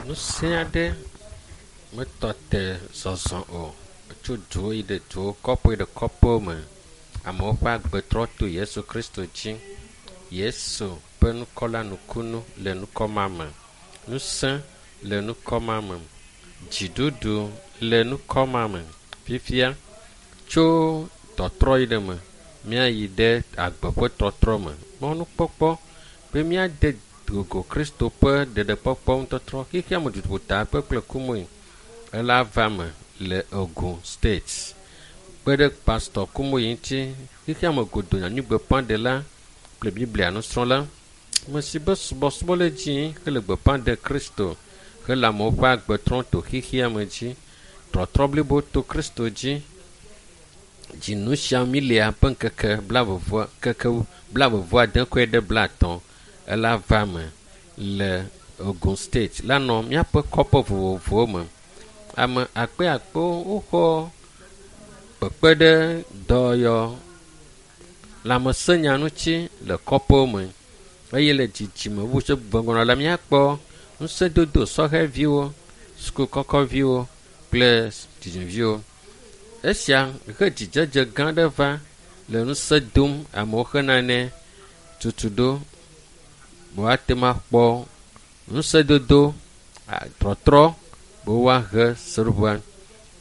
Ŋusẽ aɖe metɔ te zɔzɔ o tso duwo yi ɖe duwo, kɔƒe yi ɖe kɔƒewo me. Amewo ƒe agbe trɔ to Yesu Kristo dzi. Yesu ƒe ŋkɔ la nukunu le ŋkɔ ma me. Ŋusẽ le ŋkɔ ma me. Dziɖuɖu le ŋkɔ ma me. Fifia tso tɔtrɔ yi ɖe me míayi ɖe agbe ƒe tɔtrɔ me. Mɔnukpɔkpɔ be míade gogo Kristo ƒe ɖeɖekpɔkpɔ ŋutɔtrɔ xexea me dutoƒo kpekple kumui ela va me le Ogun State. Kpe ɖe Pastor Kumuyi ŋuti xexea me godoo nyanyuigbeƒãɖela kple Biblia nusrɔ̃la. Ame si be subɔsubɔ le dzi hele gbeƒã ɖe Kristo hele amewo ƒe agbe trɔm to xexea me dzi. Trɔtrɔ blibo to Kristo dzi. Dzinu sia milia ƒe ŋkeke blaeve ŋkeke blaeve vɔ ade kɔe ɖe blaetɔ̃ ela va me le Ogun State la nɔ míaƒe kɔƒe vovovowo me. Ame akpe akpewo woxɔ kpekpe ɖe dɔyɔ lãmesẽnya ŋuti le kɔƒewo me eye le dzidzime wu tso gbɔgblɔ la míakpɔ ŋusẽdodo sɔhɛviwo, sukukɔkɔviwo kple dzidzimeviwo. Esia he dzidzedze gã aɖe va le ŋusẽ dom amewo hena ne tutuɖo be woate ŋu akpɔ ŋusẽdodo trɔtrɔ be woahe seɖoƒea.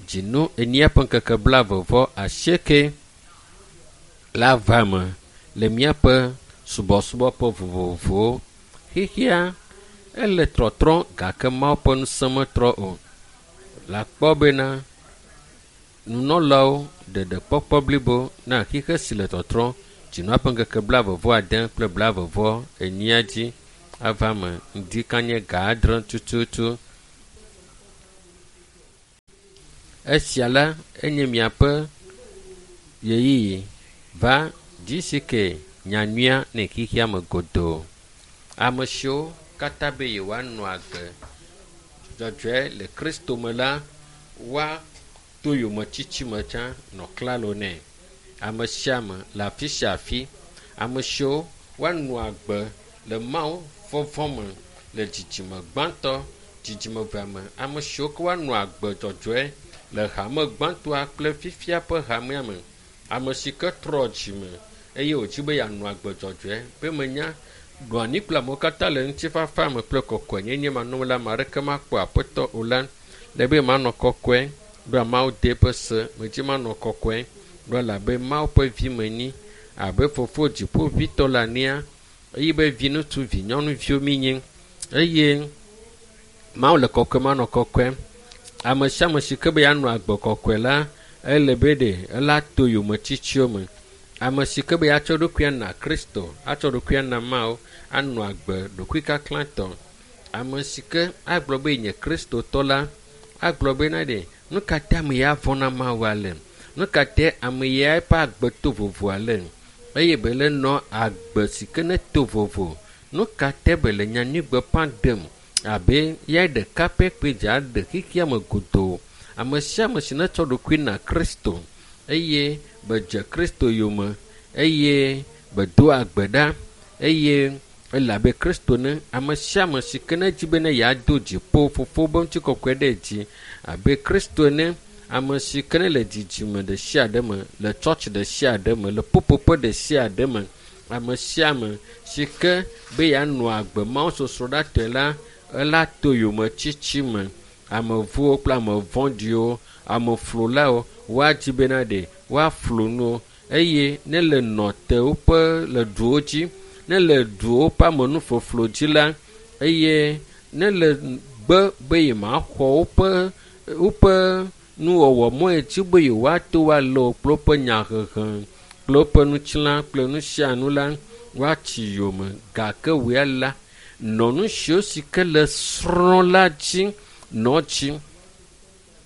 Dzinu enyia ƒe ŋkeke blaeve vɔ asieke la va me le míaƒe subɔsubɔƒe vovovowo. Xexea ele trɔtrɔm gake Mawu ƒe ŋusẽ metrɔ o. Le akpɔ bena nunɔlawo ɖeɖekpɔkpɔ blibo na xexe si le tɔtrɔm dzinua ƒe ŋkeke blaeve vɔ ade kple blaeve vɔ enyia dzi ava me ŋdi kanye ga adre tututu. Esia la enye miaƒe ɣeyiɣi va GCK nyanyuia ne xexea me godoo. Ame siwo katã be yewoanɔ agbe dzɔdzɔe le Kristo me la, woato yometiti me tsã nɔ klalo nɛ. Ame sia ame le afi sia afi. Ame siwo woanɔ agbe le Mawu vɔvɔ̃ me le dzidzime gbãtɔ, dzidzime evea me. Ame siwo ke woanɔ agbe dzɔdzɔe le hame gbãtɔa kple fifia ƒe hamea me. Ame si ke trɔ dzime eye wòdzi be yeanɔ agbe dzɔdzɔe be menya ɖo anyi kple amewo katã le ŋutifafa me kple kɔkɔenyenye manɔme la, ame aɖeke makpɔ aƒetɔ o la, le be manɔ kɔkɔe ɖoa Mawu de eƒe se medzi manɔ kɔkɔe ɖo elabe Mawu ƒe vi menyi abe fofo dziƒoʋĩtɔ le ania eye be vi ŋutsu vi nyɔnuviwo mi nyi eye Mawu le kɔkɔe manɔ kɔkɔe. Ame sia ame si ke be yeanɔ agbe kɔkɔe la, ele be ɖe ela to yometsitsiwo me. Ame si ke be yeatsɔ ɖokuia na Kristo, atsɔ ɖokuia na Mawu, anɔ agbe ɖokuikaklãtɔ. Ame si ke agblɔ be yenye Kristotɔ la, agblɔ be na ɖe nu ka ta ame ya vɔ̃ na Mawu ale? Nu ka ta ame ya eƒe agbe to vovo ale? Eye be le nɔ agbe si ke ne to vovo. Nu ka ta be le nyanyuigbeƒã ɖem abe ya ɖeka pɛ koe dze aɖe xexea me godoo. Ame sia ame si netsɔ ɖokui na Kristo eye be dze Kristo yome eye be do agbe ɖa eye ele abe Kristo ne ame sia ame si ke ne dzi be ne yeado dziƒo fofo be ŋutikɔkɔe ɖe dzi abe Kristo ene ame si ke ne le dzidzime ɖe sia ɖe me le tsɔtsi ɖe sia ɖe me le ƒuƒoƒe ɖe sia ɖe me ame sia ame si ke be yeanɔ agbe Mawu sosroɖatɔe la ela to yometsitsi me. Ame vɔ̃wo kple ame vɔ̃ɖiwo, ame flolawo woadzi bena ɖe woaflu nu eye ne le nɔ te woƒe le duwo dzi, ne le duwo ƒe amenufoflo dzi la eye ne le gbe be yemaxɔ woƒe woƒe nuwɔwɔ mɔ yi dzi be yewoato woalé wo kple woƒe nyahehe kple woƒe ŋutilã kple nu sia nu la woatsi yome gake wòya la nɔ nu siwo si ke le srɔ̃ la dzi nɔ dzi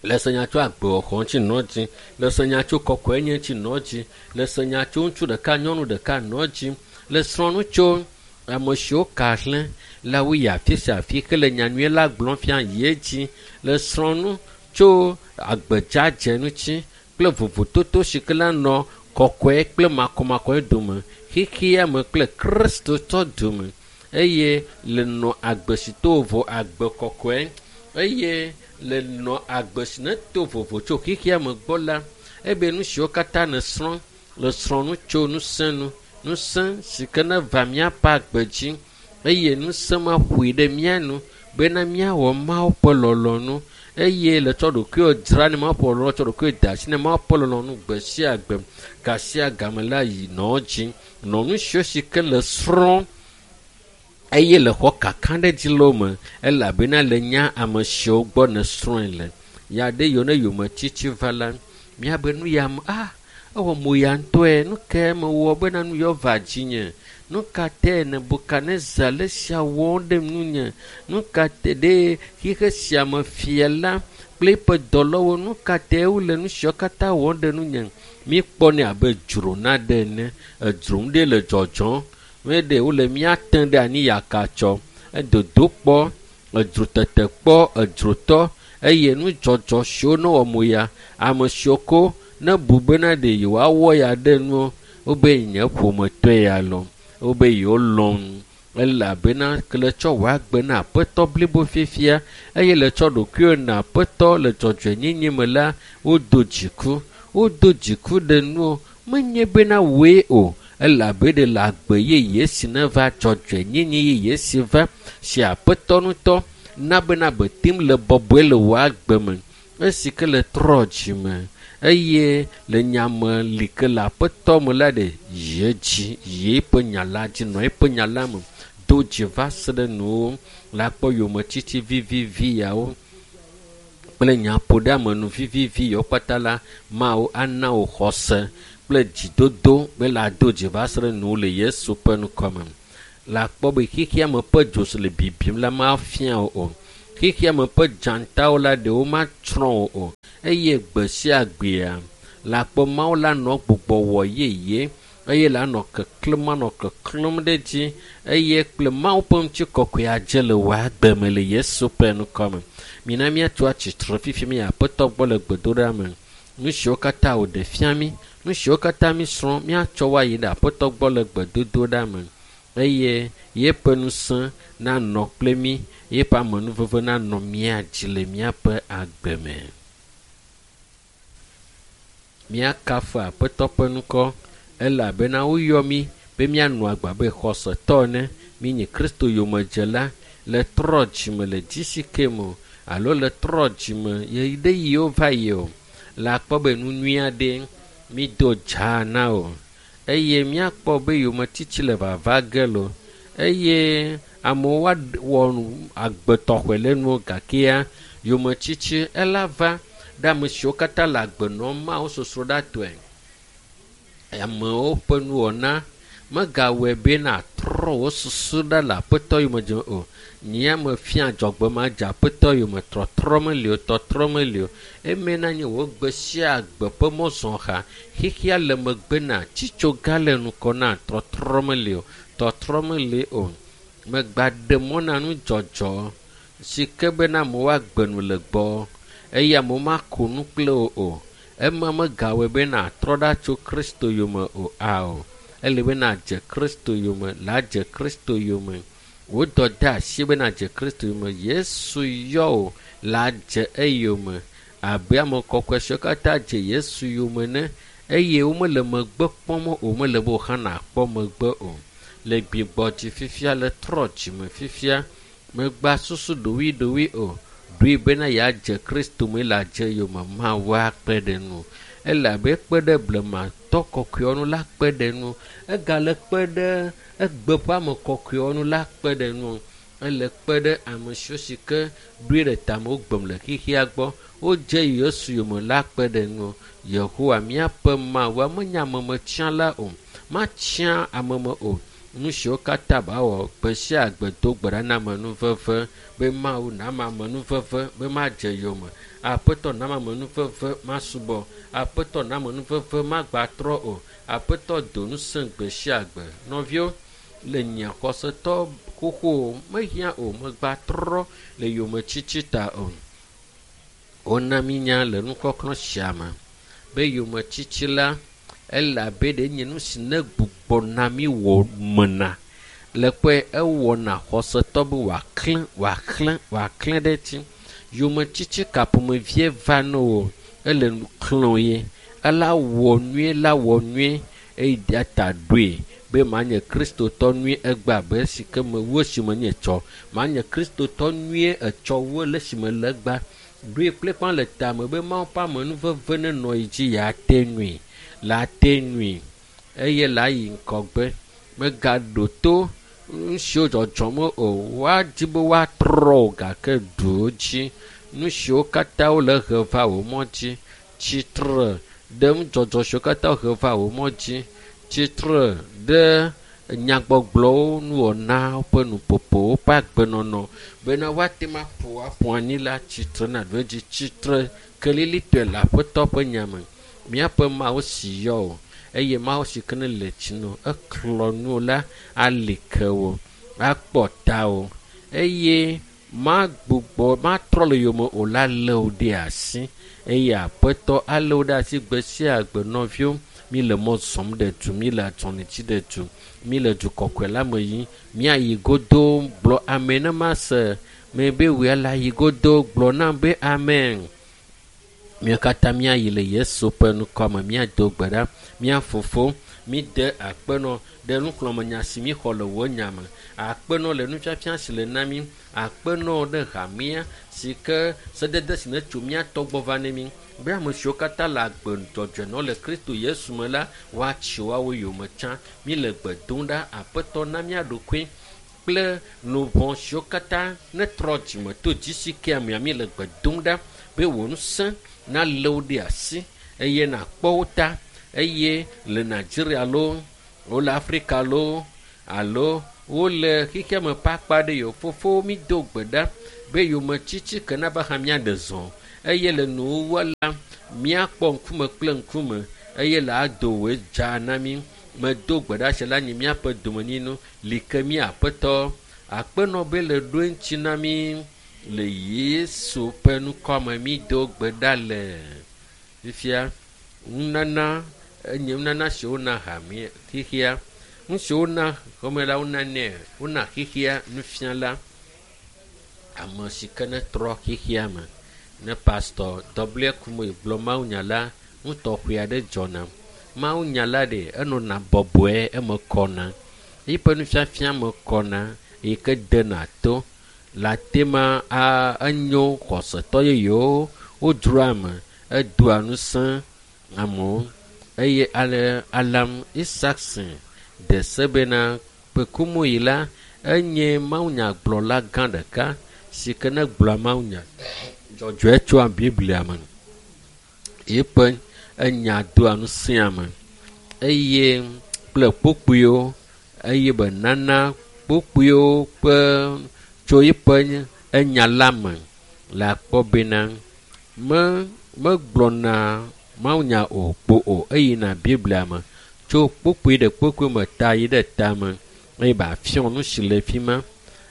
le se nya tso agbewɔxɔ ŋuti nɔ dzi le se nya tso kɔkɔenye ŋuti nɔ dzi le se nya tso ŋutsu ɖeka nyɔnu ɖeka nɔ dzi le srɔ̃ nu tso ame siwo ka hlẽ la woyi afi sia afi hele nyanyui la gblɔm fia yi edzi le srɔ̃ nu tso agbedzadze ŋuti kple vovototo si ke la nɔ kɔkɔe kple makɔmakɔe dome xexea me kple Kristotɔ dome eye le nɔ agbe si to vovo agbe kɔkɔe. Eye le nɔ agbe si ne to vovo tso xexea me gbɔ la, ebe nu siwo katã nèsrɔ̃ le srɔ̃ nu tso ŋusẽ nu. Ŋusẽ si ke ne va míaƒe agbe dzi eye ŋusẽ ma ƒoe ɖe mía nu bena míawɔ Mawu ƒe lɔlɔ̃nu eye le tsɔ ɖokuiwò dzra ne Mawu ƒe lɔlɔ̃nu, tsɔ ɖokuiwò da asi ne Mawu ƒe lɔlɔ̃nu gbe sia gbe gasia game la yi nɔ dzi. Nɔ nu siwo si ke le srɔ̃ eye le xɔ kaka ɖe dzi le wo me elabena le nya ame siwo gbɔ nèsrɔ̃e le. Ya ɖe yiwo ne yometiti va la, míabe nu ya me ah ewɔ mo ya ŋutɔe nu kae mewɔ bena nu yawo va dzinye? Nu ka tae Nebukadnezar le esia wɔm ɖe nunye? Nu ka te ɖe xixe sia me fia la kple eƒe dɔlɔwo nu ka tae wole nu siawo katã wɔm ɖe nunye? Míkpɔnɛ abe dzro naɖe ene. Edzro ŋu ɖe le dzɔdzɔm. Meɖe wole mía tem ɖe anyi yakatsɔ. Edodo kpɔ, edzro tete kpɔ, edzrotɔ eye nudzɔdzɔ siwo ne wɔ mo ya ame siwo ko ne bu bena ɖe yewoawɔ ya ɖe nuwo wobe nye ƒometɔe ya lɔ wobe yewolɔ̃ elabena ke le tsɔ wò agbe na aƒetɔ blibo fifia eye le tsɔ ɖokuiwò na aƒetɔ le dzɔdzɔenyenye me la wodo dziku wodo dziku ɖe nuwo menye bena wòe o elabe ɖe le agbe yeye si ne va dzɔdzɔenyenye yeye si va si aƒetɔ ŋutɔ na bena betem le bɔbɔe le wò agbe me esi ke le trɔ dzime eye le nyame li ke le aƒetɔ me la ɖe yi edzi yi eƒe nya la dzi nɔ eƒe nya la me do dzi va se ɖe nuwo la kpɔ yometiti vivivi yawo kple nyaƒoɖeamenu vivivi yawo kpata la Mawu ana wò xɔse kple dzidodo be la do dzi va se ɖe nuwo le Yesu ƒe ŋkɔme. La kpɔ be xexea me ƒe dzo si le bibim la mafia wò o. Xexea me ƒe dzatawo la ɖewo matsrɔ̃ wò o eye gbe sia gbea la kpɔ Mawu la nɔ gbugbɔ wɔ yeye eye la nɔ keklẽm anɔ keklẽm ɖe edzi eye kple Mawu ƒe ŋutikɔkɔe adze le wò agbe me le Yesu ƒe ŋkɔme. Mina míatso atsitre fifi mi aƒetɔ gbɔ le gbedoɖa me. Nu siwo katã wòɖe fia mí, nu siwo katã mísrɔ̃ míatsɔ wo ayi ɖe aƒetɔ gbɔ le gbedodoɖa me eye yeƒe ŋusẽ nanɔ kple mí, yeƒe amenuveve nanɔ mía dzi le míaƒe agbe me. Míakafu aƒetɔ ƒe ŋkɔ elabena woyɔ mí be míanɔ agbe abe xɔsetɔ ene. Míenye Kristo yomedzela le trɔ dzime le GCK me o alo le trɔ dzime ɣeyiɣi yiwo va yi o. Le akpɔ be nu nyui aɖe mído dzaa na o eye míakpɔ be yometiti le vava ge lo eye amewo woawɔ agbe tɔxɛ le nuwo gakea yometiti ela va ɖe ame siwo katã le agbe nɔm Mawu sosroɖatɔe. Amewo ƒe nuwɔna megawɔe be nàtrɔ wò susu ɖa le aƒetɔ yomedzem o. Nye mefia adzɔgbe madze aƒetɔ yome trɔtrɔ meli o tɔtrɔ meli o. Eme na nye wò gbe sia gbe ƒe mɔzɔha xexea le megbe na tsitsoga le ŋkɔ na trɔtrɔ meli o tɔtrɔ meli o. Megba ɖe mɔ na nudzɔdzɔ si ke bena amewo agbe nu le gbɔ eye amewo mako nu kple wò o. Ema megawɔe be nàtrɔ ɖa tso Kristo yome o ao. Ele be nàdze Kristo yome la dze Kristo yome. Wò dɔdeasi be nàdze Kristo yome. Yesu yɔ wò la dze eyome abe ame kɔkɔe siwo katã dze Yesu yome ene eye womele megbe kpɔm o mele be wò hã nàkpɔ megbe o. Le gbigbɔdzi fifia le trɔ dzime fifia megba susu ɖoɖoeɖoe o. Ɖoe bena yeadze Kristo me la dze yome Mawu akpe ɖe nu. Elabe ekpe ɖe blematɔ kɔkɔewo nu la kpe ɖe nu. Egale kpe ɖe egbe ƒe ame kɔkɔewo nu la kpe ɖe nu. Ele kpe ɖe ame siwo si ke ɖoe ɖe tame wogbem le xexea gbɔ wodze Yesu yome la kpe ɖe nu. Yehowa míaƒe Mawu menye amemetsiãla o. Matsiã ame me o. Nu siwo katã bawɔ gbe sia gbe do gbe ɖa na amenuveve be Mawu nama amenuveve be madze yome. Aƒetɔ nama amenuveve masubɔ. Aƒetɔ nama amenuveve magbatrɔ o. Aƒetɔ do ŋusẽ gbe sia gbe. Nɔviwo le nye xɔsetɔ xoxo mehiã o megbatrɔ le yometiti ta o. Wona mínya le nukɔklɔ sia me be yometiti la elabe ɖe nye nu si ne gbugbɔ na mí wɔ mena le kpɔe ewɔna xɔsetɔ be wòaklẽ wòaklẽ wòaklẽ ɖe edzi. Yometiti ka ƒomevie va na wò ele nu xlẽ ye. Ela wɔ nyuie la wɔ nyuie eye ta ɖoe be manye kristotɔ nyuie egbe abe esi ke mewu esime nye tsɔ. Manye kristotɔ nyuie etsɔ wu le esime le egbea. Ɖoe kple le tame be Mawu ƒe amenuveve nenɔ yi dzi yeate nui. La te nui eye la yi ŋgɔgbe. Megaɖo to nu siwo dzɔdzɔm o. Woadi be woatrɔ wò gake ɖu wo dzi. Nu siwo katã wole he va wò mɔ dzi. Tsitre ɖe nudzɔdzɔ siwo katã he va wò mɔ dzi. Tsitre ɖe nyagbɔgblɔwo, nuwɔnawo ƒe nuƒoƒowo ƒe agbenɔnɔ bena woate ŋu aƒo aƒu anyi la tsitre na ɖo edzi. Tsitre kelilitɔe le Aƒetɔ ƒe nya me. Míaƒe Mawu si yɔ wò eye Mawu si ke ne le tsi nu eklɔ nuwò la ali ke wò, akpɔ tawò eye magbugbɔ matrɔ le yome o la lé wò ɖe asi eye Aƒetɔ alé wò ɖe asi gbe sia gbe nɔviwo. Mi le mɔ zɔm ɖe du, mi le azɔli dzi ɖe du, mi le du kɔkɔe la me yim. Míayi godo gblɔ ame ne mase me be wòe la yi godo gblɔ nam be amen. Míawo katã míayi le Yesu ƒe ŋkɔ me míado gbe ɖa. Mía fofo, míde akpenɔ ɖe nuxlɔ̃amenya si míxɔ le wò nya me. Akpenɔ le nufiafia si le na mí. Akpenɔ ɖe hamea si ke sedede si netso mía tɔ gbɔ va ne mí. Be ame siwo katã le agbe dzɔdzɔe nɔ le Kristo Yesu me la, woatsi woawo yome tsã. Míle gbe dom ɖa Aƒetɔ na mía ɖokui kple luʋɔ siwo katã netrɔ dzime to dzi si kea mea míle gbe dom ɖa be wò ŋusẽ nalé wo ɖe asi eye nàkpɔ wo ta eye le Nigeria loo, wole Afrika loo alo wole xexea me ƒe akpa ɖe yiwo fofowo mído gbe ɖa be yometiti ke nava hã míaɖe zɔ eye le nuwuwua la míakpɔ ŋkume kple ŋkume eye le ado wòe dza na mí. Medo gbe ɖa sia la nyi míaƒe domenyinu li ke mí Aƒetɔ akpenɔ be le ɖo eŋuti na mí le Yesu ƒe ŋkɔ me mído gbe ɖa le fifia. Nunana enye nunana si wona hame xexea. Nu si wona xɔme la wonanɛ wona xexea nufiala ame si ke netrɔ xexea me. Ne pastor W. Kumuyi gblɔ mawunya la, nu tɔxɛ aɖe dzɔna. Mawunya la ɖe enɔna bɔbɔe eme kɔna. Eƒe nufiafia me kɔna yi ke dena to. Le ate ma a enyo xɔsetɔ yeyewo wodzroa ame edoa ŋusẽ amewo eye ale Alam Isaacson de se bena Kumuyi la enye mawunyagblɔla gã ɖeka si ke ne gblɔa mawunya dzɔdzɔe tsoa Biblia me. Eƒe enya doa ŋusẽ ame eye kple kpukpuiwo eye be nana kpukpuiwo ƒe tso eƒe enya la me le akpɔ bena me megblɔna mawunya o kpo o eyina Biblia me tso kpukpui ɖe kpukpui me ta yi ɖe tame eye be afiɔ nu si le fi ma.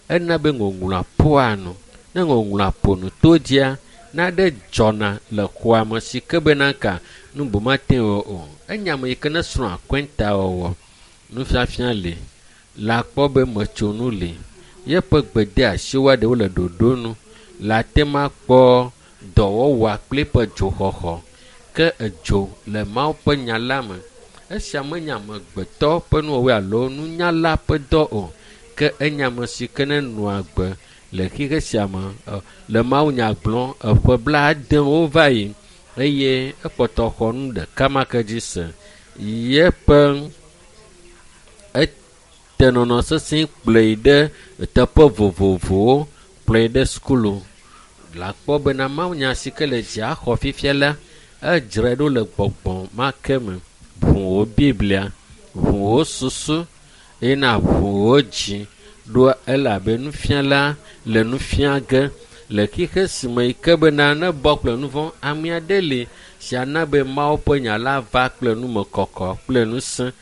Ena be ŋɔŋlɔa ƒoa nu. Ne ŋɔŋlɔa ƒo nu to dzia, naɖe dzɔna le xɔa me si ke bena ka nu bu mate ŋu o. Enya ame yi ke ne srɔ̃ akɔntawɔwɔ, nufiafia li, le akpɔ be metsonu li. Yeƒe gbedeasiwo ɖewo le ɖoɖo nu. Le ate ŋu akpɔ dɔwɔwɔa kple eƒe dzoxɔxɔ. Ke edzo le Mawu ƒe nya la me. Esia menye amegbetɔ ƒe nuwɔwɔe alo nunyala ƒe dɔ o. Ke enye ame si ke nenɔa agbe le xexe sia me le mawunya gblɔm eƒe bladewo va yi eye ekpɔtɔ xɔ nu ɖeka ma ke dzi se. Yeƒe etenɔnɔ sesẽ kplɔe ɖe teƒe vovovowo, kplɔe ɖe sukulu. Le akpɔ bena mawunya si ke le dzia xɔ fifia la, edzrae ɖo le gbɔgbɔ ma ke me. Ʋu wò Biblia, ʋu wò susu eye nàʋu wò dzi ɖo elabe nufiala le nu fia ge le xexe si me yi ke bena ne bɔ kple nu vɔ̃ ame aɖe li si ana be Mawu ƒe nya la va kple numekɔkɔ kple ŋusẽ.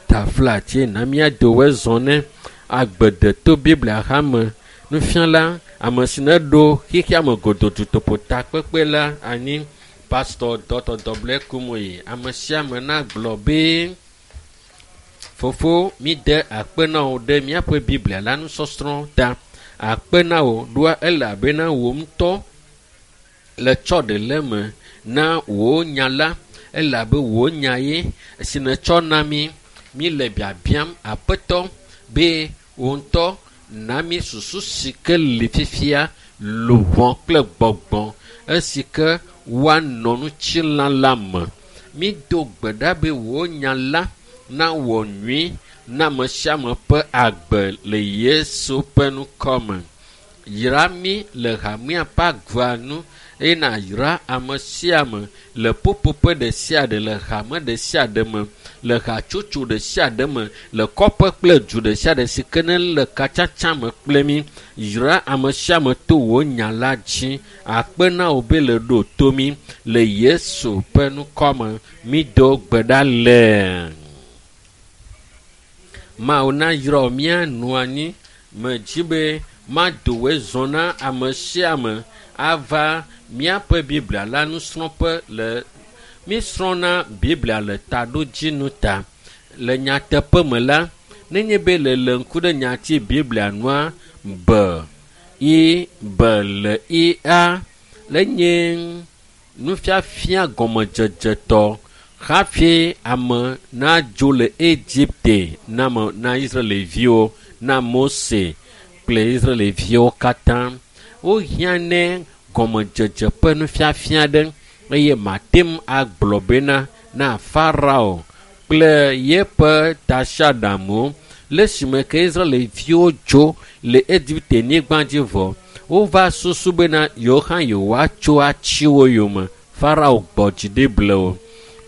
Taflatse na míado woe zɔ ne agbedeto Biblia hame nufiala ame si neɖo xexea me godoo dutoƒo takpekpe la anyi Pastor Dr. W. Kumuyi. Ame sia ame nagblɔ be fofo míde akpe na wò ɖe míaƒe Biblia la nusɔsrɔ̃ ta. Akpe na wò ɖoa elabena wò ŋutɔ Le tsɔ ɖe le me na wò nya la, elabe wò nya ye si nètsɔ na mí. Mí le biabiam Aƒetɔ be wò ŋutɔ na mí susu si ke li fifia, luʋɔ kple gbɔgbɔ esi ke woanɔ ŋutilã la me. Mído gbe ɖa be wò nya la nawɔ nyui na ame sia ame ƒe agbe le Yesu ƒe ŋkɔ me. Yra mí le hamea ƒe agba nu eye nàyra ame sia ame le ƒuƒoƒe ɖe sia ɖe, le hame ɖe sia ɖe me, le hatsotso ɖe sia ɖe me, le kɔƒe kple du ɖe sia ɖe si ke ne le katsatsa me kple mí. Yra ame sia ame to wò nya la dzi. Akpe na wò be le ɖo to mí le Yesu ƒe ŋkɔ me. Mído gbe ɖa le. Mawu nayra mía nɔ anyi. Medzi be mado wòe zɔ na ame sia ame ava míaƒe Biblia la nusrɔ̃ƒe le mísrɔ̃na Biblia le taɖodzinu ta. Le nyateƒe me la, nenye be le le ŋku ɖe nyati Biblia nua B I B L I A le nye nufiafia gɔmedzedzetɔ hafi ame nadzo le Egipte na me na Israelviwo na Mose kple Israelviwo katã. Wohiã ne gɔmedzedze ƒe nufiafia ɖe eye mate ŋu agblɔ bena na Farao kple yeƒe tasiaɖamwo le esime ke Israelviwo dzo le Egipte nyigba dzi vɔ wova susu bena yewo hã yewoatso atsi wo yome. Farao gbɔ dzi ɖi ble wo.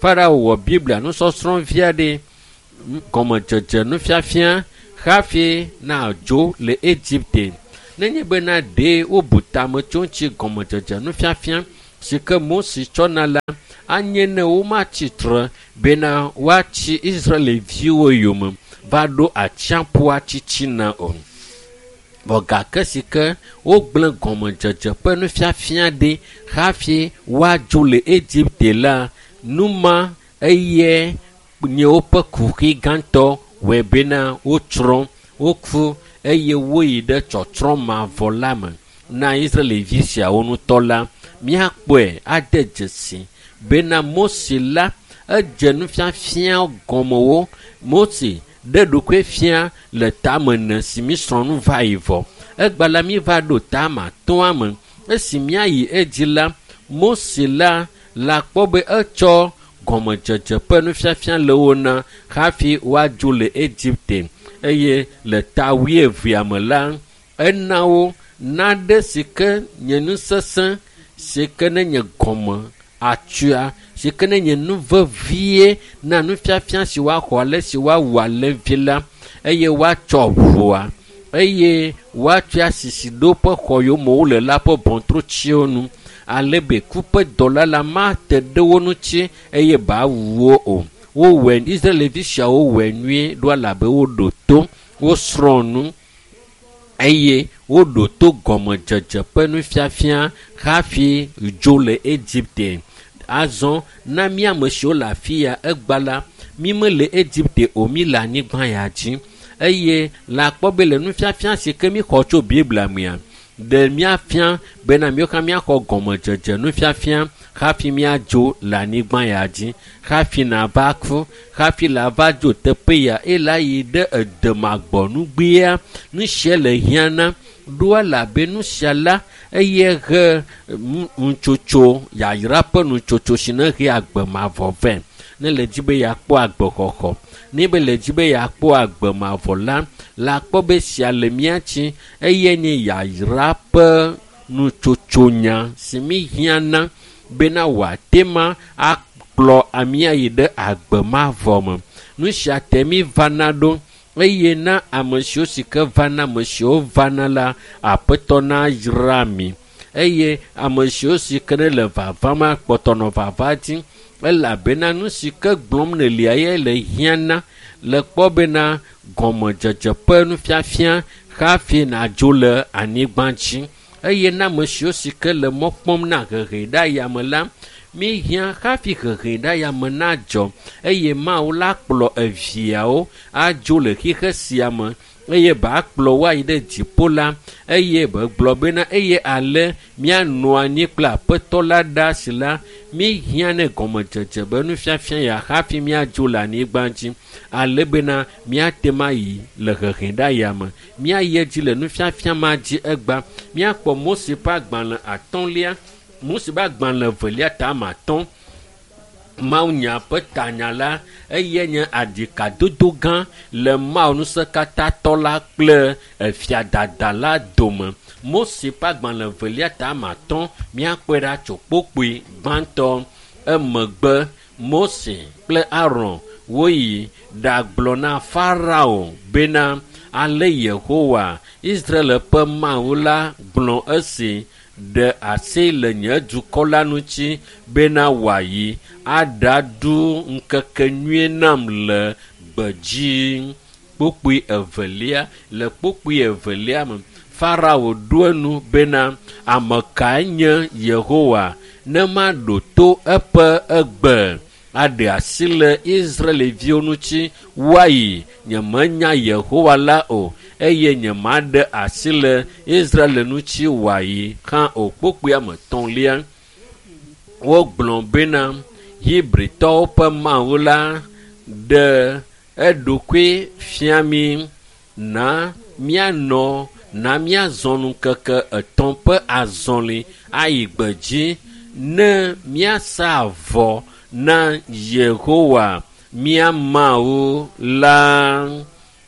Farao wɔ Biblia nusɔsrɔ̃ vi aɖe gɔmedzedze nufiafia hafi nadzo le Egipte. Nenye bena ɖe wobu tame tso ŋuti gɔmedzedze nufiafia si ke Mose tsɔna la, anye ne womatsi tre bena woatsi Israelviwo yome va ɖo atsiaƒua tsitsina o. Vɔ gake si ke wogblẽ gɔmedzedze ƒe nufiafia ɖi hafi woadzo le Egipte la, nu ma eye nye woƒe kuxi gãtɔ wɔe bena wotsrɔ̃, woku eye woyi ɖe tsɔtsrɔ̃ mavɔ la me. Na Israelvi siawo ŋutɔ la, míakpɔe ade dzesi bena Mose la edze nufiafia gɔmewo. Mose ɖe ɖokui fia le tame ene si mísrɔ̃ nu va yi vɔ. Egba la míva ɖo tame atɔ̃a me. Esi míayi edzi la, Mose la la kpɔ be etsɔ gɔmedzedze ƒe nufiafia le wo na hafi woadzo le Egipte eye le ta wuievea me la, ena wo naɖe si ke nye nu sesẽ si ke ne nye gɔme atsua si ke ne nye nu vevie na nufiafia si woaxɔ ale si woawu alẽvi la eye woatsɔ ʋua eye woatsɔe asisi ɖo woƒe xɔ yome wole la ƒe ʋɔtrutsiwo nu ale be ku ƒe dɔla la mate ɖe wo ŋuti eye bawu wo o. Wowɔe Israelvi siawo wɔe nyuie ɖo elabe woɖo to, wosrɔ̃ nu eye woɖo to gɔmedzedze ƒe nufiafia hafi dzo le Egipte. Azɔ na mí ame siwo le afi ya egba la, mí mele Egipte o, mí le anyigba ya dzi eye le akpɔ be le nufiafia si ke míxɔ tso Biblia mea, ɖe míafia bena míwo hã míaxɔ gɔmedzedze nufiafia hafi míadzo le anyigba ya dzi, hafi nava ku, hafi la va dzo teƒe ya eye la yi ɖe edemagbɔnugbea. Nu sia le hiã na ɖo elabe nu sia la eye he nutsotso yayra ƒe nutsotso si ne he agbe mavɔ vɛ. Ne le dzi be yeakpɔ agbexɔxɔ, ne be le dzi be yeakpɔ agbe mavɔ la, la kpɔ be sia le mía tsi eye nye yayra ƒe nutsotsonya si mí hiã na bena wòate ma akplɔ amía yi ɖe agbe mavɔ me. Nu sia te mí vana ɖo eye na ame siwo si ke vana ame siwo vana la, Aƒetɔ nayra mi eye ame siwo si ke ne le vavam akpɔtɔ nɔ vava dzi elabena nu si ke gblɔm nèlia ye le hiã na le kpɔ bena gɔmedzedze ƒe nufiafia hafi nàdzo le anyigba dzi eye na ame siwo si ke le mɔ kpɔm na hehe ɖe ayame la, míhiã hafi hehe ɖe ayame nadzɔ eye Mawu la kplɔ eviawo adzo le xixe sia me. eye ba kplɔ wo ayi ɖe dziƒo la, eye begblɔ bena eye ale míanɔ anyi kple aƒetɔ la ɖa si la, míhiã ne gɔmedzedze be nufiafia ya hafi míadzo le anyigba dzi, ale bena míate ŋu ayi le hehe ɖe aya me. Míayi edzi le nufiafia ma dzi egba. Míakpɔ Mose ƒe agbalẽ atɔ̃lia, Mose ƒe agbalẽ evelia ta ame atɔ̃. Mawunya ƒe tanya la, eye nye aɖikadodo gã le Mawu ŋusẽkatãtɔ la kple efiadada la dome. Mose ƒe agbalẽ evelia ta ame atɔ̃, míakpɔe ɖa tso kpokpoe gbãtɔ. Emegbe Mose kple Aron woyi ɖagblɔ na Farao bena ale Yehowa, Israel ƒe Mawu la gblɔ esi ɖe asi le nye dukɔ la ŋuti bena wòayi aɖaɖu ŋkekenyui nam le gbedzi. Kpokpoe evelia, le kpokpoe evelia me, Farao ɖo enu bena ame kae nye Yehowa ne maɖo to eƒe egbe aɖe asi le Israelviwo ŋuti woayi. Nyemenya Yehowa la o, eye nyemaɖe asi le Israel ŋuti wòayi hã o. Kpokpoea me tɔ̃lia, wogblɔ bena Hebritɔwo ƒe Mawu la ɖe eɖokui fia mí, na míanɔ, na míazɔ ŋkeke etɔ̃ ƒe azɔli ayi gbedzi ne míasa avɔ na Yehowa mía Mawu la.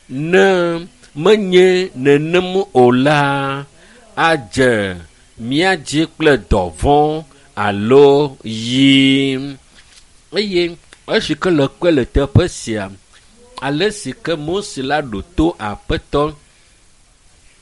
Ne menye nenem o la, adze mía dzi kple dɔvɔ̃ alo yi. Eye esi ke le kpe le teƒe sia, ale si ke Mose la ɖo to aƒetɔ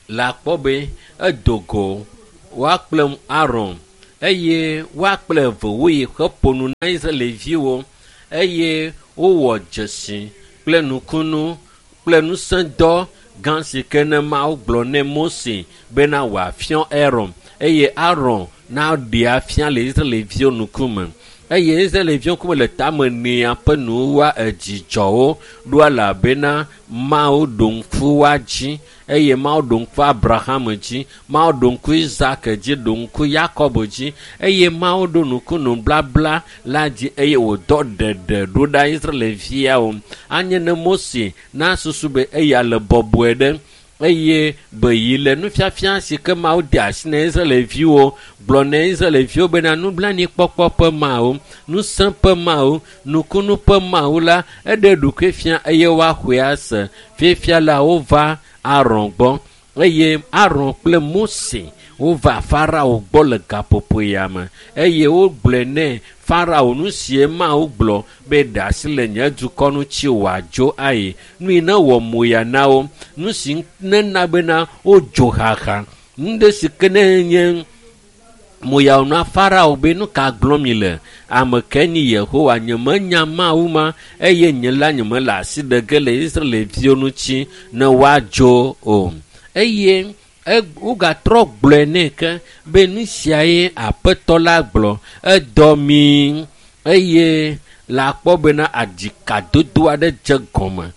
la kpɔ be edo go woa kple Aron eye woa kple eve woyi heƒo nu na Israelviwo eye wowɔ dzesi kple nukunu kple ŋusẽdɔ gã si ke ne Mawu gblɔ ne Mose bena wòafiɔ Aron eye Aron naɖee afia le Israelviwo ŋkume. Eye Israelviwo ŋkume le tame nea ƒe nuwua edzidzɔwo ɖo elabena Mawu ɖo ŋku woa dzi eye Mawu ɖo ŋku Abraham dzi, Mawu ɖo ŋku Isak dzi, ɖo ŋku Yakob dzi eye Mawu ɖo ŋku nublabla la dzi eye wòdɔ ɖeɖe ɖo ɖa Israelviawo. Anye ne Mose nasusu be eya le bɔbɔe ɖe eye be yi le nufiafia si ke Mawu de asi na Israelviwo gblɔ na Israelviwo bena nublanuikpɔkpɔ ƒe Mawu, ŋusẽ ƒe Mawu, nukunu ƒe Mawu la, eɖe ɖokui fia eye woaxɔe ase. Fifia la wova Aron gbɔ eye Aron kple Mose wova Farao gbɔ le gaƒoƒo ya me eye wogblɔe nɛ Farao nu sie Mawu gblɔ be ɖe asi le nye dukɔ ŋuti wòadzo ayi. Nu yi ne wɔ moya na wo, nu si nena bena wodzo xaxa. Nu ɖe si ke ne nye moya na Farao be nu ka gblɔm mi le? Ame ke nyi Yehowa, nyemenya Mawu ma eye nye la nyemele asi ɖe ge le Israelviwo ŋuti ne woadzo o. Eye wogatrɔ gblɔe nɛ ke be nu siae aƒetɔ la gblɔ, edɔ mi eye la kpɔ bena aɖikadodo aɖe dze gɔme,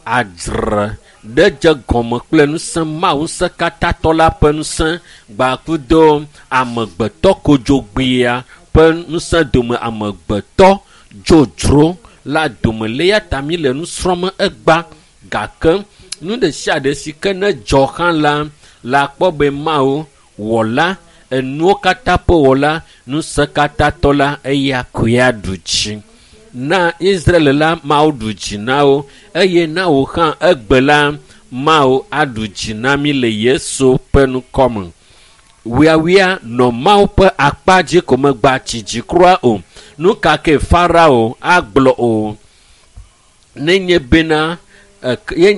adzre ɖe dze gɔme kple ŋusẽ Mawu ŋusẽkatãtɔ la ƒe ŋusẽ gbakudo amegbetɔ kodzogbea ƒe ŋusẽ dome, amegbetɔ dzodzro la dome. Le eya ta mi le nu srɔ̃m egba gake nu ɖe sia ɖe si ke ne dzɔ hã la, la kpɔ be Mawu wɔla, enuwo katã ƒe wɔla, ŋusẽkatãtɔ la, eya koe aɖu dzi. Na Israel la, Mawu ɖu dzi na wo eye na wò hã egbe la, Mawu aɖu dzi na mi le Yesu ƒe ŋkɔme. Wiawia nɔ Mawu ƒe akpa dzi ko megba tsi dzi kura o. Nu ka ke Farao agblɔ o? Nenye bena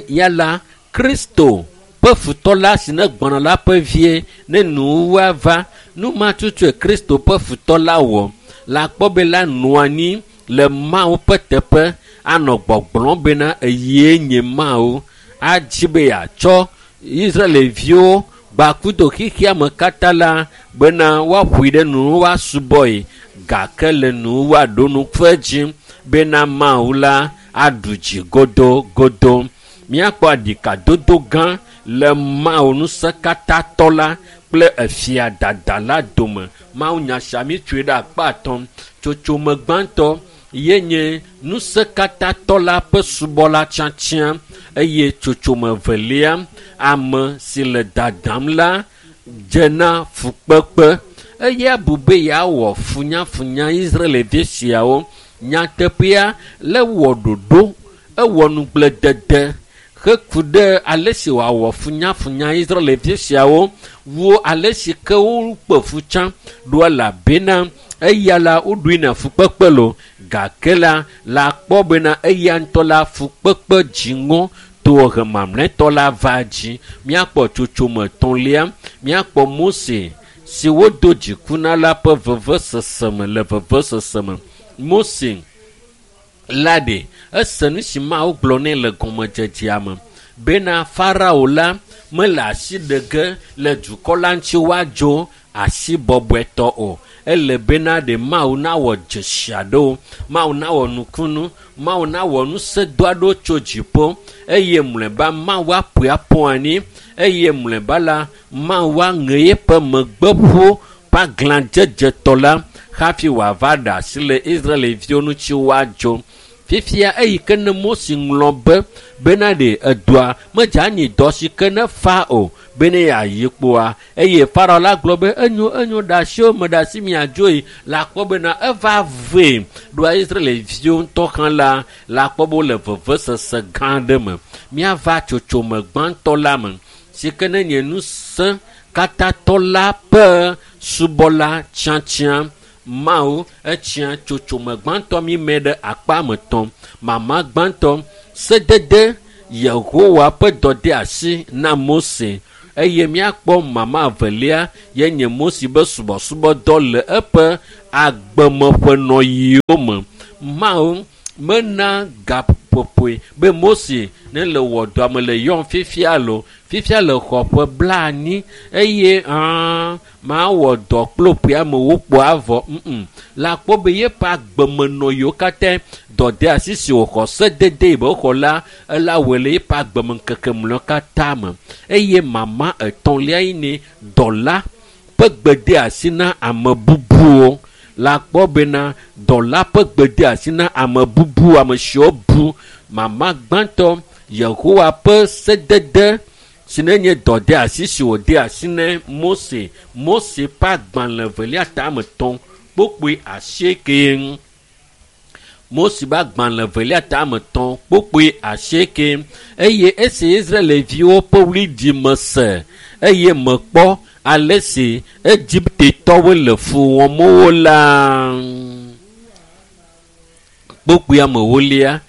ya la Kristo ƒe futɔ la si ne gbɔna la ƒe vie ne nuwuwua va, nu ma tutue Kristo ƒe futɔ la wɔ. La kpɔ be la nɔ anyi le Mawu ƒe teƒe anɔ gbɔgblɔm bena eye nye Mawu adzi be yeatsɔ Israelviwo gbakudo xexea me katã la bena woaƒoe ɖe nu woasubɔe gake le nu woaɖo ŋku edzi bena Mawu la aɖu dzi godogodo. Míakpɔ aɖikadodo gã le Mawu ŋusẽkatãtɔ la kple efia dada la dome. Mawu nya sia míetsoe ɖe akpa atɔ̃. Tsotsome gbãtɔ ye nye ŋusẽkatãtɔ la ƒe subɔla tiatia eye tsotsome evelia ame si le dadam la dze na fukpekpe. Eya bu be yeawɔ funyafunya Israelvi siawo. Nyateƒea le wɔ ɖoɖo, ewɔ nugblẽdede heku ɖe ale si wòawɔ funyafunya Israelvi siawo wu ale si ke wokpe fu tsã ɖo elabena eya la woɖoe na fukpekpe lo gake la la kpɔ bena eya ŋutɔ la fukpekpe dziŋɔ to hemamlɛtɔ la va dzi. Míakpɔ tsotsome etɔ̃lia, míakpɔ Mose si wodo dziku na la ƒe vevesese me le vevesese me. Mose la ɖe ese nu si Mawu gblɔ nɛ le gɔmedzedzea me bena Farao la mele asi ɖe ge le dukɔ la ŋuti woadzo asi bɔbɔetɔ o. Ele bena ɖe Mawu nawɔ dzesi aɖewo, Mawu nawɔ nukunu, Mawu nawɔ ŋusẽdɔ aɖewo tso dziƒo eye mlɔeba Mawu aƒoe aƒo anyi eye mlɔeba la Mawu aŋe eƒe megbeƒo ƒe aglãdzedzetɔ la hafi wòava ɖe asi le Israelviwo ŋuti woadzo. Fifia eyi ke ne Mose ŋlɔ be bena ɖe edɔa medze anyi dɔ si ke ne fa o bene yeayi kpoa eye Farao la gblɔ be enyo enyo ɖe asiwo me ɖe asi miadzoe la kpɔ bena eva vee ɖoa Israelviwo ŋutɔ hã la la kpɔ be wole vevesese gã aɖe me. Míava tsotsome gbãtɔ la me si ke ne nye ŋusẽ katãtɔ la ƒe subɔla tiatia. Mawu etsia tsotsome gbãtɔ mi me ɖe akpa me tɔ̃. Mama gbãtɔ sedede Yehowa ƒe dɔdeasi na Mose eye míakpɔ mama evelia ye nye Mose be subɔsubɔdɔ le eƒe agbemeƒenɔyiwo me. Mawu mena gaƒoƒoe be Mose ne le wɔ dɔa me le yɔm fifia lo fifia le xɔ ƒe blaenyi eye mawɔ dɔ kple ƒea me wokpɔ avɔ la kpɔ be yeƒe agbemenɔyiwo katã dɔdeasi si wòxɔ sedede yi be xɔ la ela wɔe le yeƒe agbemeŋkeke mlɔewo katã me eye mama etɔ̃lia yi nye dɔla ƒe gbedeasi na ame bubuwo. La kpɔ bena dɔla ƒe gbedeasi na ame bubu ame siwo bu. Mama gbãtɔ Yehowa ƒe sedede si ne nye dɔdeasi si wòde asi ne Mose. Mose ƒe agbalẽ evelia tame etɔ̃ kpokpoe asieke. Mose ƒe agbalẽ evelia tame etɔ̃ kpokpoe asieke eye esi Israelviwo ƒe ɣliɖime se eye mekpɔ ale si Egiptetɔwo le fu wɔm wo la kpokpoe amewolia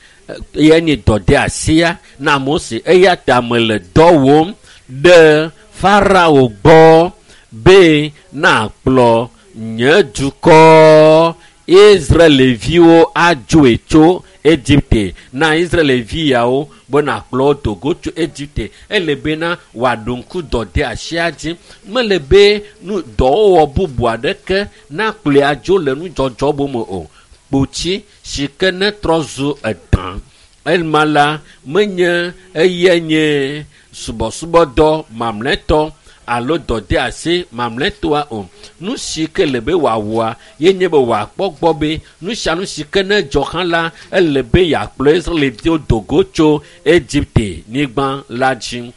eya nye dɔdeasia na Mose eya ta mele dɔ wɔm ɖe Farao gbɔ be nakplɔ nye dukɔ Israelviwo adzoe tso Egipte na Israelvi yawo be nakplɔ wo do go tso Egipte. Ele bena wòaɖo ŋku dɔdeasia dzi. Mele be nu dɔwɔwɔ bubu aɖeke nakplɔe adzo le nudzɔdzɔ bome o. Kpotsi si ke ne trɔ zu edã ema la menye eya nye subɔsubɔdɔ mamlɛtɔ alo dɔdeasi mamlɛtɔa o. Nu si ke le be wòawɔa ye nye be wòakpɔ gbɔ be nu sia nu si ke ne dzɔ hã la ele be yeakplɔ Israelviwo do go tso Egipte nyigba la dzi.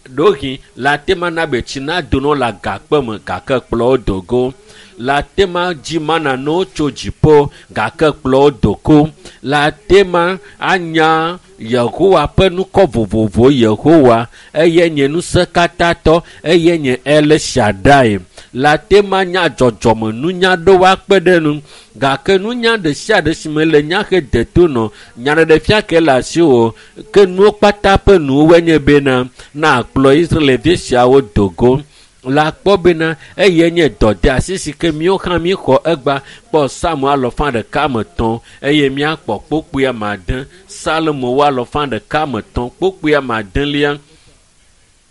Ɖewohĩ la te ma na be tsi nado na wo le agakpe me gake kplɔ wo do go. La te ma dzi mana na wo tso dziƒo gake kplɔ wo do go. La te ma anya Yehowa ƒe ŋkɔ vovovo Yehowa eye nye ŋusẽkatãtɔ eye nye El Shaddai. La te ma nya dzɔdzɔme nunya ɖewo akpe ɖe nu gake nunya ɖe sia ɖe si me le nya he deto nɔ nyaɖeɖefia ke le asiwò ke nuwo kpata ƒe nuwoe nye bena nakplɔ Israelvi siawo do go. La kpɔ bena eye nye dɔdeasi si ke míawo hã míxɔ egba kpɔ Psalmo alɔfa ɖeka me tɔ̃ eye míakpɔ kpokpoe ame ade. Salomo wo alɔfa ɖeka me tɔ̃ kpokpoe ame adelia.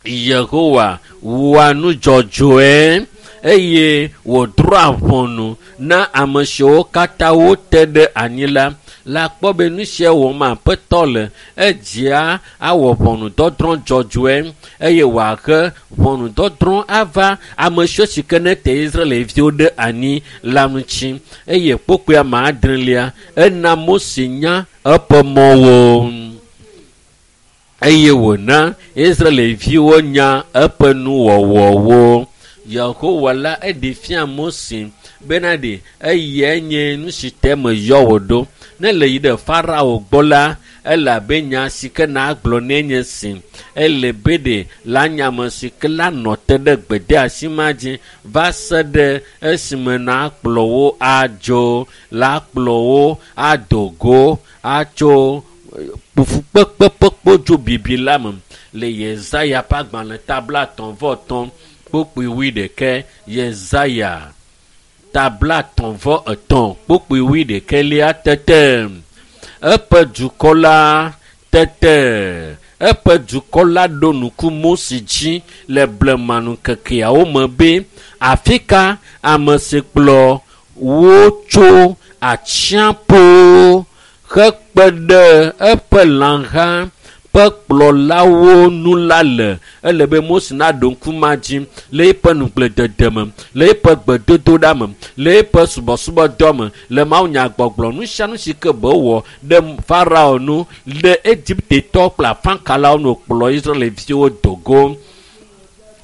Yehowa wɔa nu dzɔdzɔe eye wòdrɔ̃a ʋɔnu na ame siwo katã wote ɖe anyi la. La kpɔ be nu sia wɔm Aƒetɔ le, edzia awɔ ʋɔnudɔdrɔ̃ dzɔdzɔe eye wòahe ʋɔnudɔdrɔ̃ ava ame siwo si ke nete Israelviwo ɖe anyi la ŋuti. Eye kpokpoe ame adrelia, ena Mose nya eƒe mɔwo eye wòna Israelviwo nya eƒe nuwɔwɔwo. Yehowa la eɖe fia Mose bena ɖe eyae nye nu si te meyɔ wò ɖo. Ne le yi ɖe Farao gbɔ la, elabe nya si ke nagblɔ nɛ nye si. Ele be ɖe la nya me si ke la nɔ te ɖe gbedeasi ma dzi va se ɖe esime nakplɔ wo adzo, la kplɔ wo ado go atso fukpekpe ƒe kpodzo bibi la me le Yesaya ƒe agbalẽ ta 33 kpukpui 21. Yesaya ta 33 kpukpui 21 tete eƒe dukɔ la tete eƒe dukɔ la ɖo ŋku Mose dzi le blemanukekeawo me be afi ka ame si kplɔ wo tso atsiaƒu hekpe ɖe eƒe lãha ƒe kplɔlawo nu la le. Ele be Mose naɖo ŋku ma dzi le eƒe nugbledede me, le eƒe gbedodoɖa me, le eƒe subɔsubɔdɔ me, le mawunyagbɔgblɔ nu sia nu si ke be wɔ ɖe Farao nu, ɖe Egiptetɔwo kple afãkalawo nu kplɔ Israelviwo do go.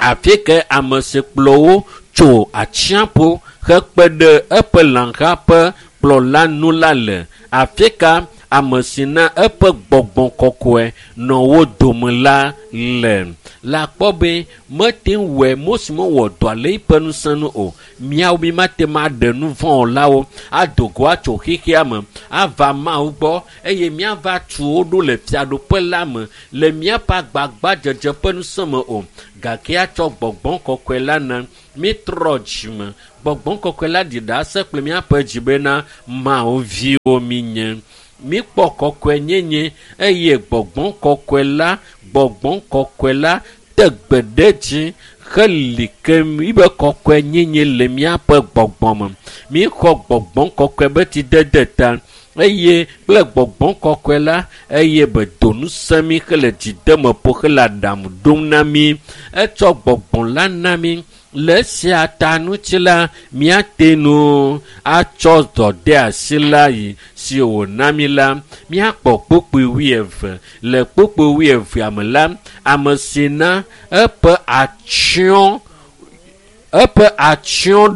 Afi ke ame si kplɔ wo tso atsiaƒu hekpe ɖe eƒe lãha ƒe kplɔla nu la le. Afi ka ame si na eƒe gbɔgbɔ kɔkɔe nɔ wo dome la le. La kpɔ be mete ŋu wɔe, Mose mewɔ dɔa le eƒe ŋusẽ nu o. Míawo mi mate ŋu aɖe nu vɔ̃wɔlawo ado go atso xexea me ava Mawu gbɔ eye míava tu wo ɖo le fiaɖuƒe la me le míaƒe agbagbadzedze ƒe ŋusẽ me o. Gake atsɔ gbɔgbɔ kɔkɔe la na mítrɔ dzime. Gbɔgbɔ kɔkɔe la ɖi ɖase kple míaƒe dzi bena Mawu viwo míenye. Míkpɔ kɔkɔenyenye eye gbɔgbɔ kɔkɔe la, gbɔgbɔ kɔkɔe la te gbe ɖe dzi heli ke míbe kɔkɔenyenye le míaƒe gbɔgbɔ me. Míxɔ gbɔgbɔ kɔkɔe be tsidede ta eye kple gbɔgbɔ kɔkɔe la eye be do ŋusẽ mí hele dzideme ƒo hele aɖaŋu ɖom na mí. Etsɔ gbɔgbɔ la na mí. Le esia ta ŋuti la, míate ŋu atsɔ dɔdeasi la yi si wòna mí la. Míakpɔ kpukpui 20. Le kpukpui 20 me la, ame si na eƒe atsyɔ̃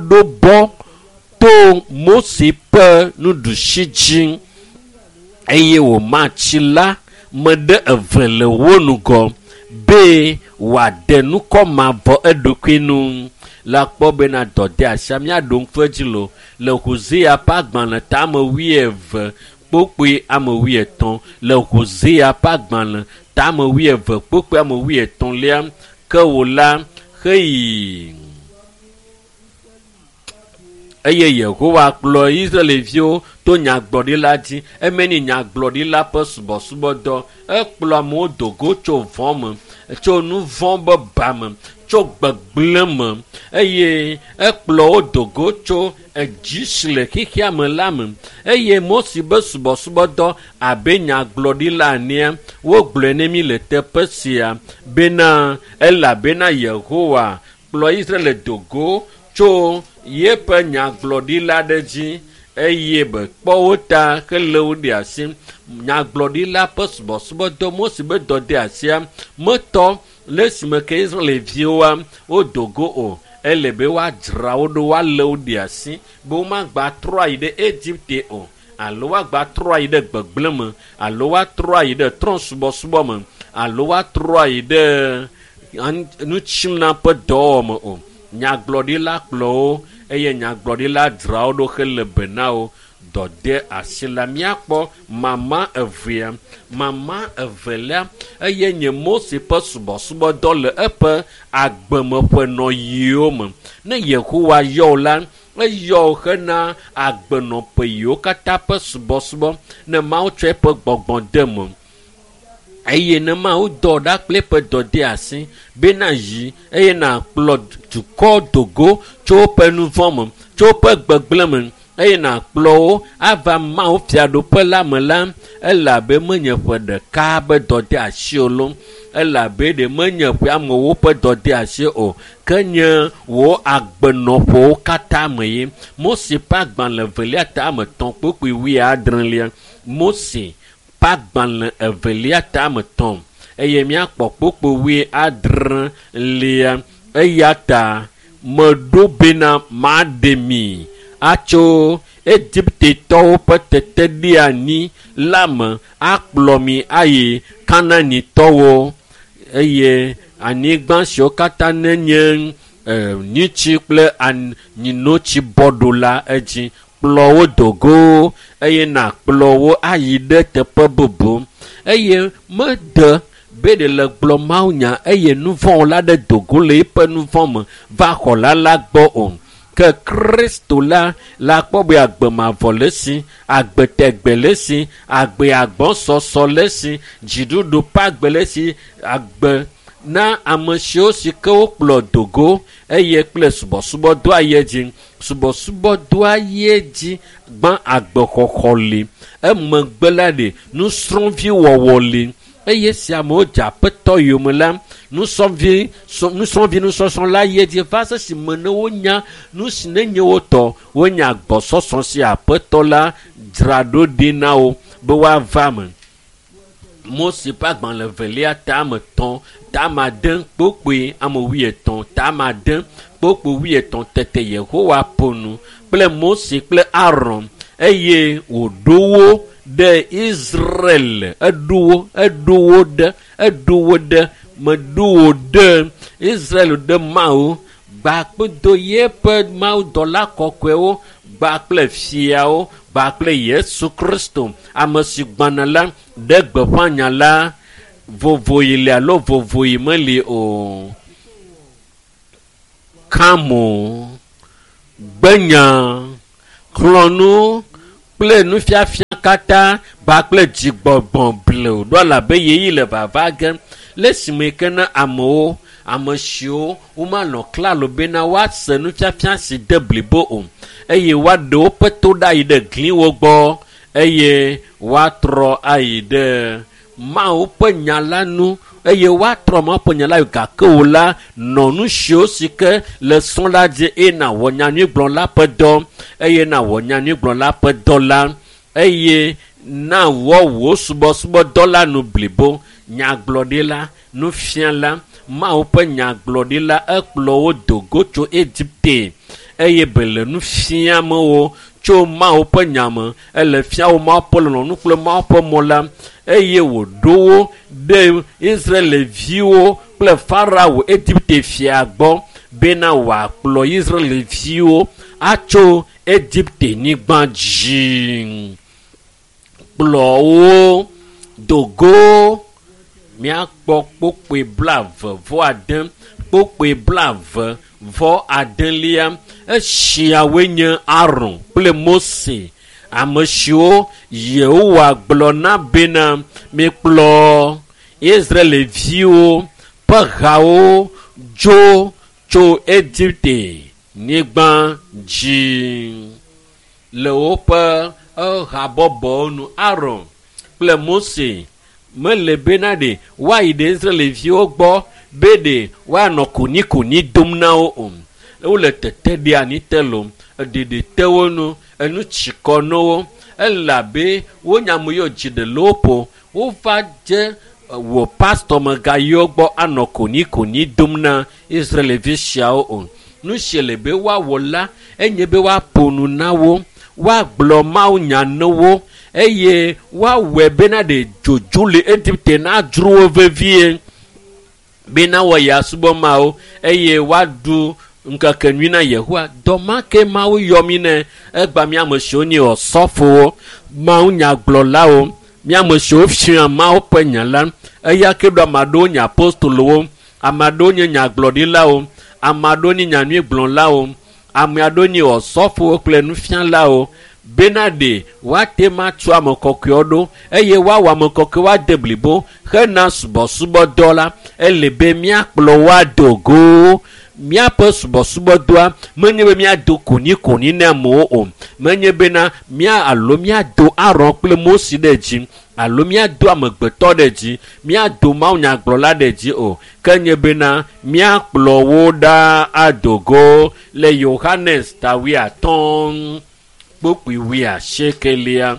ɖo bɔ to Mose ƒe nuɖusi dzi eye wòma tsi la me ɖe eve le wo ŋgɔ be wòaɖe nukɔ mavɔ eɖokui nu. La kpɔ bena dɔdeasia míaɖo ŋku edzi lo le Hosea ƒe agbalẽ ta ame 20 kpukpui ame 80. Le Hosea ƒe agbalẽ ta ame 20 kpukpui ame 80 ke wò la heyi. Eye Yehowa kplɔ Israelviwo to nyagblɔɖila dzi. Eme ni nyagblɔɖila ƒe subɔsubɔdɔ. Ekplɔ amewo do go tso vɔ̃ me, tso nu vɔ̃ be ba me, tso gbegblẽ me eye ekplɔ wo do go tso edzi si le xexea me la me. Eye Mose be subɔsubɔdɔ abe nyagblɔɖila enea, wogblɔe ne mí le teƒe sia bena elabena Yehowa kplɔ Israel do go tso yeƒe nyagblɔɖila ɖe dzi eye be kpɔ wo ta hele wo ɖe asi. Nyagblɔɖila ƒe subɔsubɔdɔ Mose be dɔdeasia metɔ le esime ke Israelviwoa wodo go o. Ele be woadzra wo ɖo, woalé wo ɖe asi be womagba trɔ ayi ɖe Egipte o, alo woagba trɔ ayi ɖe gbegblẽ me, alo woatrɔ ayi ɖe trɔ̃subɔsubɔ me, alo woatrɔ ayi ɖe nutsina ƒe dɔwɔwɔ me o. Nyagblɔɖila kplɔ wo eye nyagblɔɖila dzra wo ɖo hele be na wo. Dɔde asi la míakpɔ mama evea. Mama evelia eye nye Mose ƒe subɔsubɔdɔ le eƒe agbemeƒenɔyiwo me. Ne Yehowa yɔ wo la, eyɔ wo hena agbenɔƒe yiwo katã ƒe subɔsubɔ. Ne Mawu tsɔ eƒe gbɔgbɔ de me. Eye ne Mawu dɔ ɖa kple eƒe dɔdeasi bena yi eye nàkplɔ dukɔ dogo tso woƒe nu vɔ̃ me, tso woƒe gbegblẽ me eye nàkplɔ wo ava Mawu fiaɖuƒe la me la, elabe menye ƒe ɖeka be dɔdeasi o loo, elabe ɖe menye ƒe amewo ƒe dɔdeasi o, ke nye wò agbenɔƒewo katã me ye. Mose ƒe agbalẽ evelia ta ame etɔ̃ kpukpui wuiadrelia. Mose ƒe agbalẽ evelia ta ame etɔ̃ eye míakpɔ kpukpui wuiadrelia. Eya ta meɖo bena maɖe mi atso Egiptetɔwo ƒe teteɖeanyi la me akplɔ mi ayi Kanaanitɔwo eye anyigba siwo katã nenye nyitsi kple nyinotsi bɔ ɖo la edzi. Kplɔ wo dogo eye nàkplɔ wo ayi ɖe teƒe bubu. Eye mede be ɖe le gblɔ mawunya eye nu vɔ̃ la ɖe dogo le eƒe nu vɔ̃ me va xɔla la gbɔ o. Ke Kristo la la kpɔ be agbe mavɔ le esi, agbe tegbe le esi, agbe agbɔsɔsɔ le esi, dziɖuɖu ƒe agbe le esi, agbe na ame siwo si ke wokplɔ dogo eye kple subɔsubɔdɔa yi edzi. Subɔsubɔdɔa yi edzi gbã agbexɔxɔ li. Emegbe la ɖe nusrɔ̃viwɔwɔ li. Eye si amewo dze aƒetɔ yome la, nusrɔ̃vi nusɔsrɔ̃ la yi edzi va se si me ne wonya nu si nenye wo tɔ, wonya gbɔsɔsɔ si aƒetɔ la dzra ɖo ɖi na wo be woava me. Mose ƒe agbalẽ evelia ta ame etɔ̃, ta ame ade kpokpoe ame wuietɔ̃, ta ame ade kpokpoe wuietɔ̃. Tete Yehowa ƒo nu kple Mose kple Aron eye wòɖo wo ɖe Israel. Eɖo wo, eɖo wo ɖe, eɖo wo ɖe, meɖo wo ɖe Israel ɖe Mawu gba kpedo yeƒe mawudɔla kɔkɔewo gba kple fiawo gba kple Yesu Kristo ame si gbana la ɖe gbeƒã nya la vovoyi li alo vovoyi meli o. Kamo, gbenya, xlɔ̃nu kple nufiafia katã gba kple dzigbɔgbɔ blewu ɖo elabe yeyi le vava ge le esime ke ne amewo ame siwo womanɔ klalo bena woase nufiafia si de blibo o eye woaɖe woƒe to ɖa ayi ɖe gliwo gbɔ eye woatrɔ ayi ɖe Mawu ƒe nya la nu eye woatrɔ Mawu ƒe nya la gake wo la nɔ nu siwo si ke le srɔ̃ la dzi eye nàwɔ nyanyuigblɔla ƒe dɔ eye nàwɔ nyanyuigblɔla ƒe dɔ la eye nawɔ wò subɔsubɔdɔ la nu blibo. Nyagblɔɖila, nufiala, Mawu ƒe nyagblɔɖila ekplɔ wo dogo tso Egipte eye be le nu fiam wo tso Mawu ƒe nya me. Ele fia wo Mawu ƒe lɔlɔ̃nu kple Mawu ƒe mɔ la eye wòɖo wo ɖe Israelviwo kple Farao Egipte fia gbɔ bena wòakplɔ Israelviwo atso Egipte nyigba dzi. Kplɔ wo dogo. Míakpɔ kpokpoe blaeve vɔ ade, kpokpoe blaeve vɔ adelia. Esiawoe nye Aron kple Mose, ame siwo Yehowa gblɔ na bena mikplɔ Israelviwo ƒe hawo dzo tso Egipte nyigba dzi le woƒe habɔbɔwo nu. Aron kple Mose mele bena ɖe woayi ɖe Israelviwo gbɔ be ɖe woanɔ konikoni dom na wo o. Wole tete ɖe anyi te loo, eɖeɖe te wo nu, enu tsi kɔ na wo elabe wonya ame yiwo dzi ɖe le wo ƒo. Wova dze wò pastɔ megayi wo gbɔ anɔ konikoni dom na Israelvi siawo o. Nu si le be woawɔ la enye be woaƒo nu na wo, woagblɔ mawunya na wo eye woawɔe bena ɖe dzodzo le Egipte nadzro wo vevie bena woayi asubɔ Mawu eye woaɖu ŋkeke nyui na Yehowa. Dɔ ma ke Mawu yɔ mí ne egba mía ame siwo nye osɔfowo, mawunyagblɔlawo, mía ame siwo fia Mawu ƒe nya la. Eya ke ɖo ame aɖewo nye apostolowo, ame aɖewo nye nyagblɔɖilawo, ame aɖewo nye nyanyuigblɔlawo, ame aɖewo nye osɔfowo kple nufialawo. Bena ɖe woate ma tu ame kɔkɔewo ɖo eye woawɔ ame kɔkɔe woade blibo hena subɔsubɔdɔ la, ele be míakplɔ wo ado go. Míaƒe subɔsubɔdɔa menye be míado konikoni na amewo o, menye bena mía alo míado Aron kple Mose ɖe dzi alo míado amegbetɔ ɖe dzi, míado mawunyagblɔla ɖe dzi o, ke nye bena míakplɔ wo ɖa ado go le Yohanes ta 50 kpukpui 80.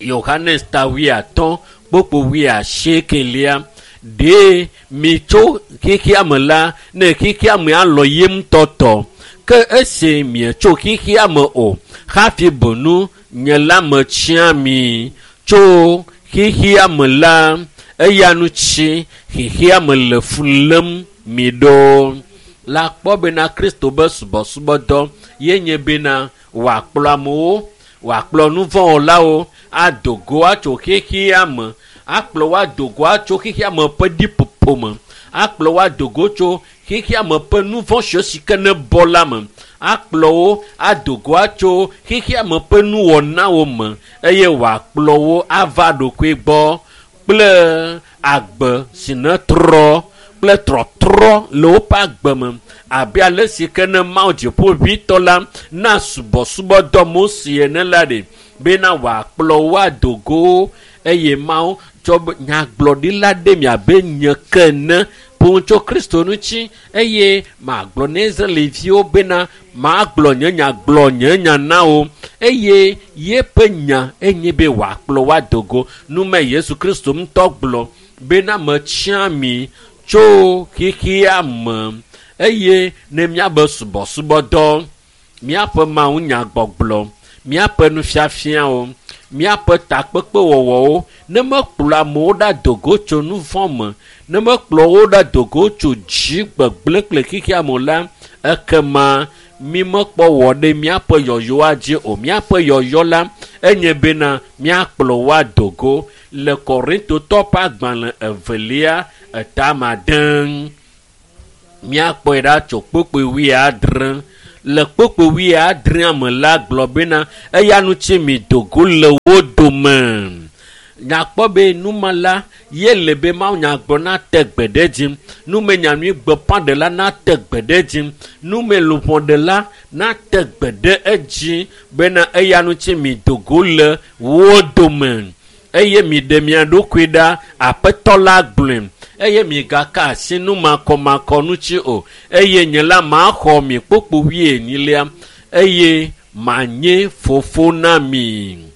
Yohanes ta 50 kpukpui 80. Ɖe mi tso xexea me la, ne xexea me alɔ ye ŋutɔ tɔ. Ke esi mietso xexea me o, hafi benu nye la metsia mi tso xexea me la, eya ŋuti xexea me le fu lém mi ɖo. La kpɔ bena Kristo be subɔsubɔdɔ ye nye bena wòakplɔ amewo, wòakplɔ nuvɔ̃wɔlawo ado go atso xexea me, akplɔ wo ado go atso xexea me ƒe ɖiƒoƒo me, akplɔ wo ado go tso xexea me ƒe nuvɔ̃ siwo si ke ne bɔ la me, akplɔ wo ado go atso xexea me ƒe nuwɔnawo me, eye wòakplɔ wo ava ɖokui gbɔ kple agbe si ne trɔ kple trɔtrɔ le woƒe agbe me, abe ale si ke ne Mawu dziƒoʋĩtɔ la na subɔsubɔdɔ Mose ene la ɖe, bena wòakplɔ wo ado go eye Mawu tsɔ nyagblɔɖila ɖe mi abe nye ke ene ƒo tso Kristo ŋuti, eye magblɔ na Israelviwo bena magblɔ nye nya gblɔ nye nya na wo, eye yeƒe nya enye be wòakplɔ wo ado go. Nume Yesu Kristo ŋutɔ gblɔ bena metsia mi tso xexea me, eye ne míabe subɔsubɔdɔ, míaƒe mawunyagbɔgblɔ, míaƒe nufiafiawo, míaƒe takpekpewɔwɔwo, ne mekplɔ amewo ɖa do go tso nuvɔ̃ me, ne mekplɔ wo ɖa do go tso dzi gbegblẽ kple xexea me la, ekema mi mekpɔ wɔ ɖe míaƒe yɔyɔa dzi o. Míaƒe yɔyɔ la enye bena míakplɔ wo ado go. Le Korintotɔ ƒe agbalẽ evelia etama de, míakpɔe ɖa tso kpukpui 70. Le kpukpui 70 me la gblɔ bena eya ŋuti mi do go le wo dome. Nyakpɔ be numa la ye le be mawunyagblɔ nate gbe ɖe dzi, nume nyanyui gbeƒãɖela nate gbe ɖe dzi, nume luʋɔɖela nate gbe ɖe edzi bena eya ŋuti mi do go le wo dome, eye mi ɖe mia ɖokui ɖa, Aƒetɔ la gblɔe, eye migaka asi numakɔmakɔ ŋuti o, eye nye la maxɔ mi kpukpui 40, eye manye fofo na mi.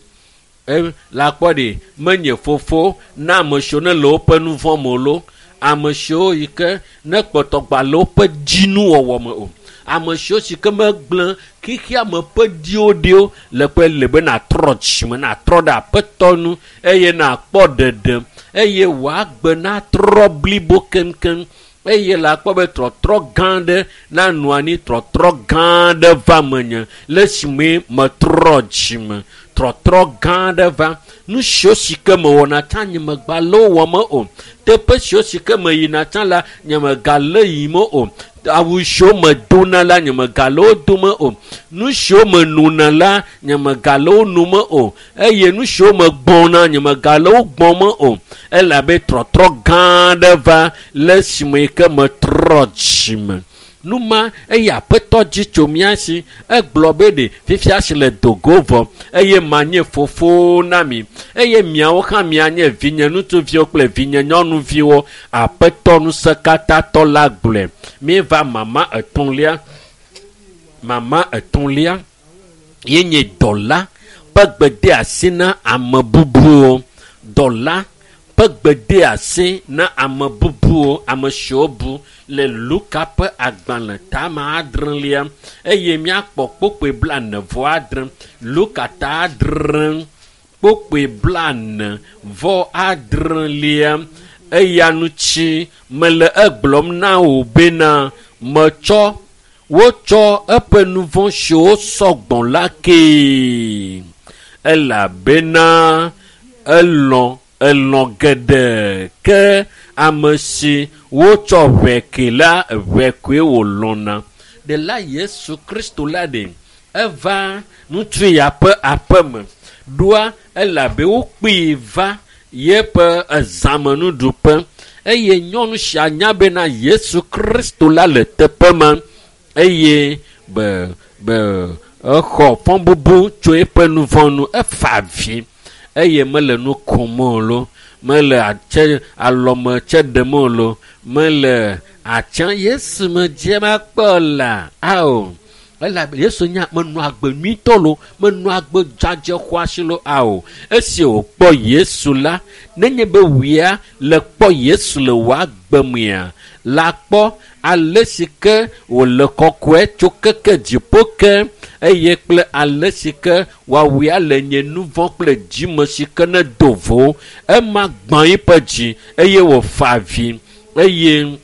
La kpɔ ɖe, menye fofo na ame siwo ne le woƒe nuvɔ̃ me loo, ame siwo yi ke ne kpɔtɔ gba le woƒe dzinuwɔwɔ me o, ame siwo si ke megblẽ xexea me ƒe diwo ɖiwo le ƒe le be natrɔ dzime, natrɔ ɖe Aƒetɔ nu, eye nakpɔ ɖeɖe, eye wòagbe natrɔ blibo keŋkeŋ, eye la kpɔ be trɔtrɔ gã ɖe nanɔ anyi, trɔtrɔ gã ɖe va menye le esime metrɔ dzime, trɔtrɔ gã ɖe va. Nu siwo si ke mewɔna tsã nye megba le wo wɔm o, teƒe siwo si ke meyina tsã la nye megale yim o, awu siwo medona la nye megale wo dome o, nu siwo menona la nye megale wo nome o, eye nu siwo megbɔna nye megale wo gbɔm o, elabe trɔtrɔ gã ɖe va le esime yi ke metrɔ dzime. Numa eye Aƒetɔ dzi tso mía si, egblɔ be ɖe fifia si le do go vɔ, eye manye fofo na mi, eye miawo hã mianye vinye ŋutsuviwo kple vinye nyɔnuviwo, Aƒetɔ ŋusẽkatãtɔ la gblɔe. Míeva mama etɔ̃lia. Mama etɔ̃lia ye nye dɔla ƒe gbedeasi na ame bubuwo. Dɔla ƒe gbedeasi na ame bubuwo, ame siwo bu le Luka ƒe agbalẽ tame adrelia, eye míakpɔ kpukpui 46. Luka ta 6 kpukpui 46. Eya ŋuti mele egblɔm na wò bena metsɔ wotsɔ eƒe nuvɔ̃ siwo sɔgbɔ la kee, elabena elɔ̃ geɖe, ke ame si wotsɔ ʋɛ ke la, ʋɛ koe wòlɔ̃na. Ɖela Yesu Kristo la ɖe, Eva ŋutsu ya ƒe aƒeme ɖoa elabe wokpee va yeƒe ezãmenuɖuƒe eye nyɔnu sia nya bena Yesu Kristo la le teƒe ma eye be exɔ fɔbubu tso eƒe nu vɔ̃ nu efa avi eye mele nu kom o lo mele atse alɔme tse ɖem o lo mele atse Yesu me dze makpɔ la ao elabe Yesu nya menɔ agbe nyuitɔ lo menɔ agbe dzadze xɔasi lo ao esi wòkpɔ Yesu la nenye be wòya le kpɔ Yesu le wò agbe mea la kpɔ ale si ke wòle kɔkɔe tso keke dziƒo ke eye kple ale si ke woawuia le nye nu vɔ̃ kple dzime si ke ne do vo ema gbã eƒe dzi eye wòfa avi eye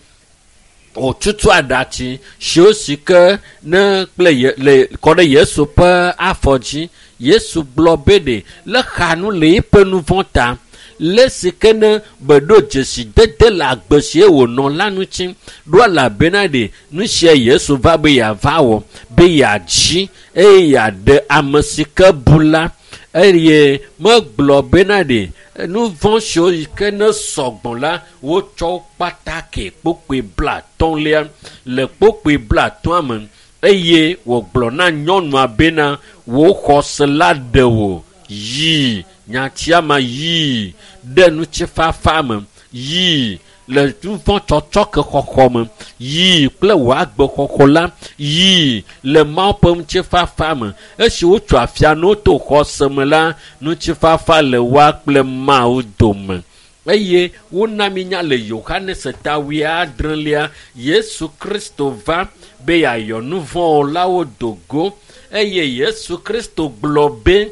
wòtutu aɖatsi siwo si ke ne kple ye le kɔ ɖe Yesu ƒe afɔ dzi. Yesu gblɔ be ɖe le xa nu le eƒe nu vɔ̃ ta le si ke ne beɖo dzesi dede le agbe si wònɔ la ŋuti ɖo elabena ɖe nu sia Yesu va be yeava wɔ be yeadzi eye yeaɖe ame si ke bu la eye megblɔ bena ɖe nu vɔ̃ siwo ke ne sɔgbɔ la wotsɔ kpata ke kpokpoe 50 le kpokpoe 50 me eye wògblɔ na nyɔnua bena wò xɔse la ɖe wò yi nyatia ma yi ɖe ŋutifafa me yi le nu vɔ̃ tsɔtsɔ ke xɔxɔ me yi kple wò agbe xɔxɔ la yi le Mawu ƒe ŋutifafa me esi wotso afia ne woto xɔse me la ŋutifafa le woa kple Mawu dome eye wona mi nya le Yohanes ta 70 Yesu Kristo va be yeayɔ nu vɔ̃wɔlawo do go eye Yesu Kristo gblɔ be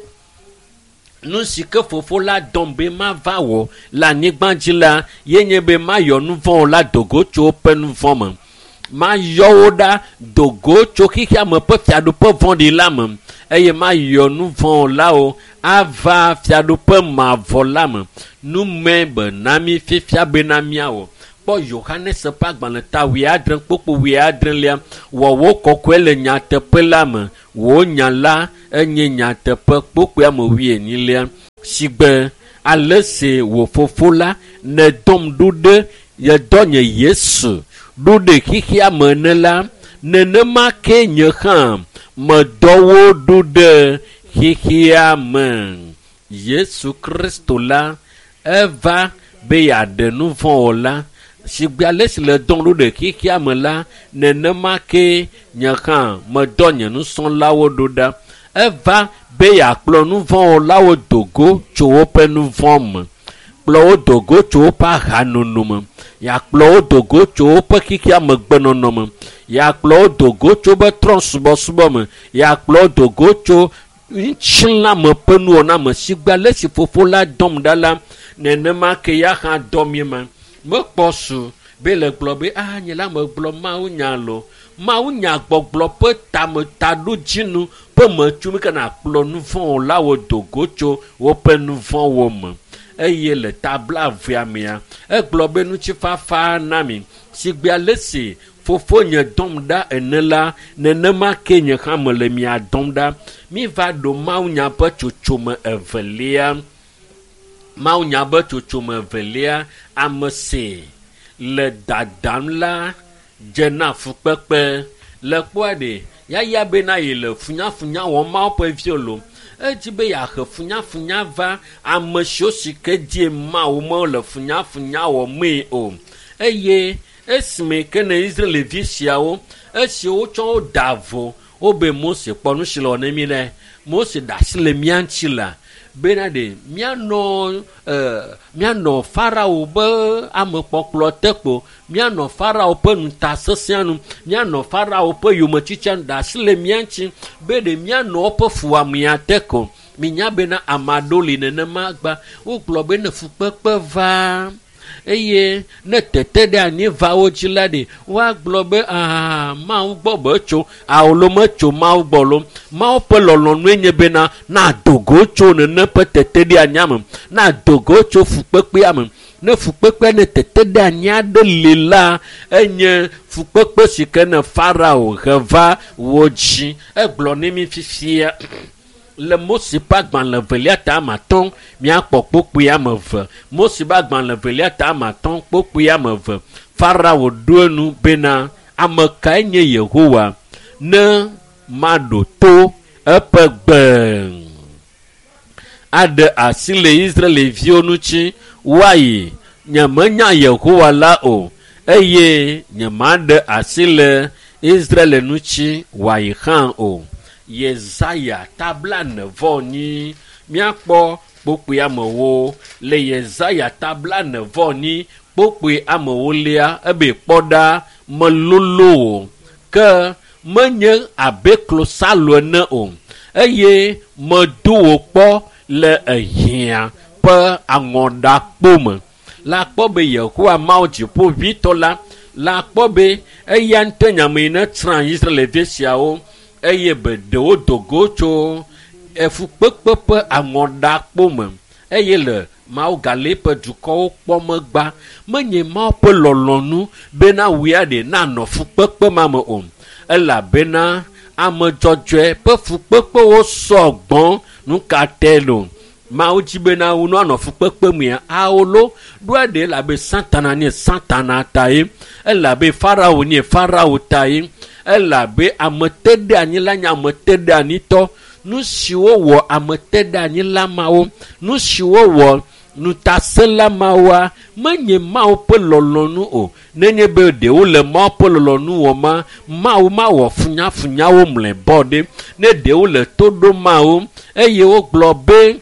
nu si ke fofo la dɔm be mava wɔ le anyigba dzi la yenye be mayɔ nu vɔ̃wɔla do go tso woƒe nu vɔ̃ me mayɔ wo ɖa do go tso xexea me ƒe fiaɖuƒe vɔ̃ɖi la me eye mayɔ nu vɔ̃wɔlawo ava fiaɖuƒe mavɔ la me nu me be na mi fifia bena míawɔ kpɔ Yohanes ƒe agbalẽ ta 70 kpokpo 70 wɔ wò kɔkɔe le nyateƒe la me wò nya la enye nyateƒe kpokpoa me 24 sigbe ale si wò fofo la nèdɔm ɖo ɖe yedɔ nye Yesu ɖo ɖe xexea me ene la nenema ke nye hã medɔ wo ɖo ɖe xexea me. Yesu Kristo la eva be yeaɖe nu vɔ̃wɔla sigbe ale si le dɔm ɖo ɖe xexea me la nenema ke nye hã medɔ nye nusrɔ̃lawo ɖo ɖa. Eva be yeakplɔ nu vɔ̃wɔlawo do go tso woƒe nu vɔ̃ me kplɔ wo do go tso woƒe ahanono me yeakplɔ wo do go tso woƒe xexea me gbenɔnɔ me yeakplɔ wo do go tso woƒe trɔ̃subɔsubɔ me yeakplɔ wo do go tso ŋutilãme ƒe nuwɔna me sigbe ale si fofo la dɔm ɖa la nenema ke ya hã dɔ mi ma mekpɔ su be le gblɔ be a nye la megblɔ Mawu nya lo Mawu nya gbɔgblɔ ƒe tame taɖodzinu ƒe metso mi ke nakplɔ nu vɔ̃wɔlawo do go tso woƒe nu vɔ̃wo me eye le ta 20 mea egblɔ be ŋutifafa na mi sigbe ale si fofo nye dɔm ɖa ene la nenema ke nye hã mele mia dɔm ɖa. Miva ɖo Mawu nya ƒe tsotsome evelia. Mawu nya ƒe tsotsome evelia ame si le dadam la dze na fukpekpe le kpɔa ɖe yaya bena yi le funyafunya wɔm Mawu ƒe viwo lo edzi be yeahe funyafunya va ame siwo si ke die Mawu mele funyafunya wɔmee o eye esime ke ne Israelvi siawo esi wotsɔ wo da vo wobe Mose kpɔ nu si le wɔ ne mi ɖe Mose ɖe asi le mía ŋuti la bena ɖe míanɔ Farao be amekpɔkplɔ te kpo míanɔ Farao ƒe ŋutasesẽa nu míanɔ Farao ƒe yometsitsia nu ɖe asi le mía ŋuti be ɖe míanɔ woƒe fuwɔamea te ko minya bena ame aɖewo li nenema gba wogblɔ be ne fukpekpe va eye ne tete ɖe anyi va wo dzi la ɖe woagblɔ be aa Mawu gbɔ be tso alo metso Mawu gbɔ lo Mawu ƒe lɔlɔ̃nue nye bena nado go tso nene ƒe tete ɖe anyia me nado go tso fukpekpea me. Ne fukpekpe ne tete ɖe anyi aɖe li la, enye fukpekpe si ke ne Farao he va wo dzi. Egblɔ ne mi fifia le Mose ƒe agbalẽ evelia ta ame atɔ̃ míakpɔ kpokpui ame eve. Mose ƒe agbalẽ evelia ta ame atɔ̃ kpokpui ame eve. Farao ɖo enu bena ame kae nye Yehowa ne maɖo to eƒe gbe aɖe asi le Israelviwo ŋuti woayi. Nyemenya Yehowa la o eye nyemaɖe asi le Israel ŋuti wòayi hã o. Yesaya tabla nevɔ nyi míakpɔ kpokpui amewo le Yesaya tabla nevɔ nyi kpokpui amewo lia ebe kpɔ ɖa melolo o ke menye abe klosalo ene o eye medo wò kpɔ le ehiã ƒe aŋɔɖakpo me. La kpɔ be Yehowa Mawu dziƒoʋĩtɔ la la kpɔ be eya ŋutɔ nye ame yi ne tsrã Israelvi siawo eye be ɖewo do go tso efukpekpe ƒe aŋɔɖakpo me eye le Mawu gale eƒe dukɔwo kpɔ megba. Menye Mawu ƒe lɔlɔ̃nu bena wòya ɖe nanɔ fukpekpe ma me o elabena ame dzɔdzɔe ƒe fukpekpewo sɔ gbɔ. Nu ka tae lo? Mawu dzi bena wo anɔ fukpekpe mea awo lo ɖoa ɖe elabe Satana nye Satana ta ye, elabe Farao nye Farao ta ye, elabe ameteɖeanyila nye ameteɖeanyitɔ. Nu siwo wɔ ameteɖeanyila mawo, nu siwo wɔ ŋutasẽla mawoa, menye Mawu ƒe lɔlɔ̃nu o. Nenye be ɖewo le Mawu ƒe lɔlɔ̃nu wɔma, Mawu mawɔ funyafunyawo mlɔebɔ ɖe. Ne ɖewo le to ɖom Mawu eye wogblɔ be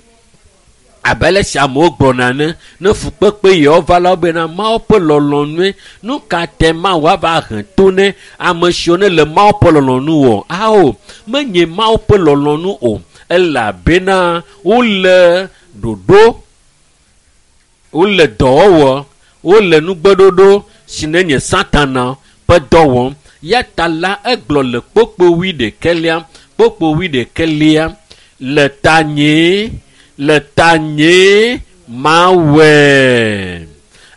abe ale si amewo gblɔna ene, ne fukpekpe yewo va la wobena Mawu ƒe lɔlɔ̃nue. Nu ka tae Mawu ava he to ne ame siwo ne le Mawu ƒe lɔlɔ̃nu wɔ? Ao, menye Mawu ƒe lɔlɔ̃nu o elabena wole ɖoɖo, wole dɔwɔwɔ, wole nugbeɖoɖo si ne nye Satana ƒe dɔ wɔm. Ya ta la egblɔ le kpokpo wuiɖekɛlia, kpokpo wuiɖekɛlia le tanye le tanye mawɔe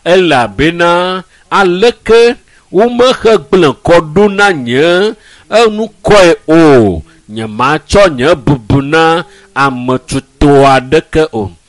elabena aleke womehe gblẽ kɔ ɖo na nye enukɔe o. Nyematsɔ nye bubu na ame tutɔ aɖeke o.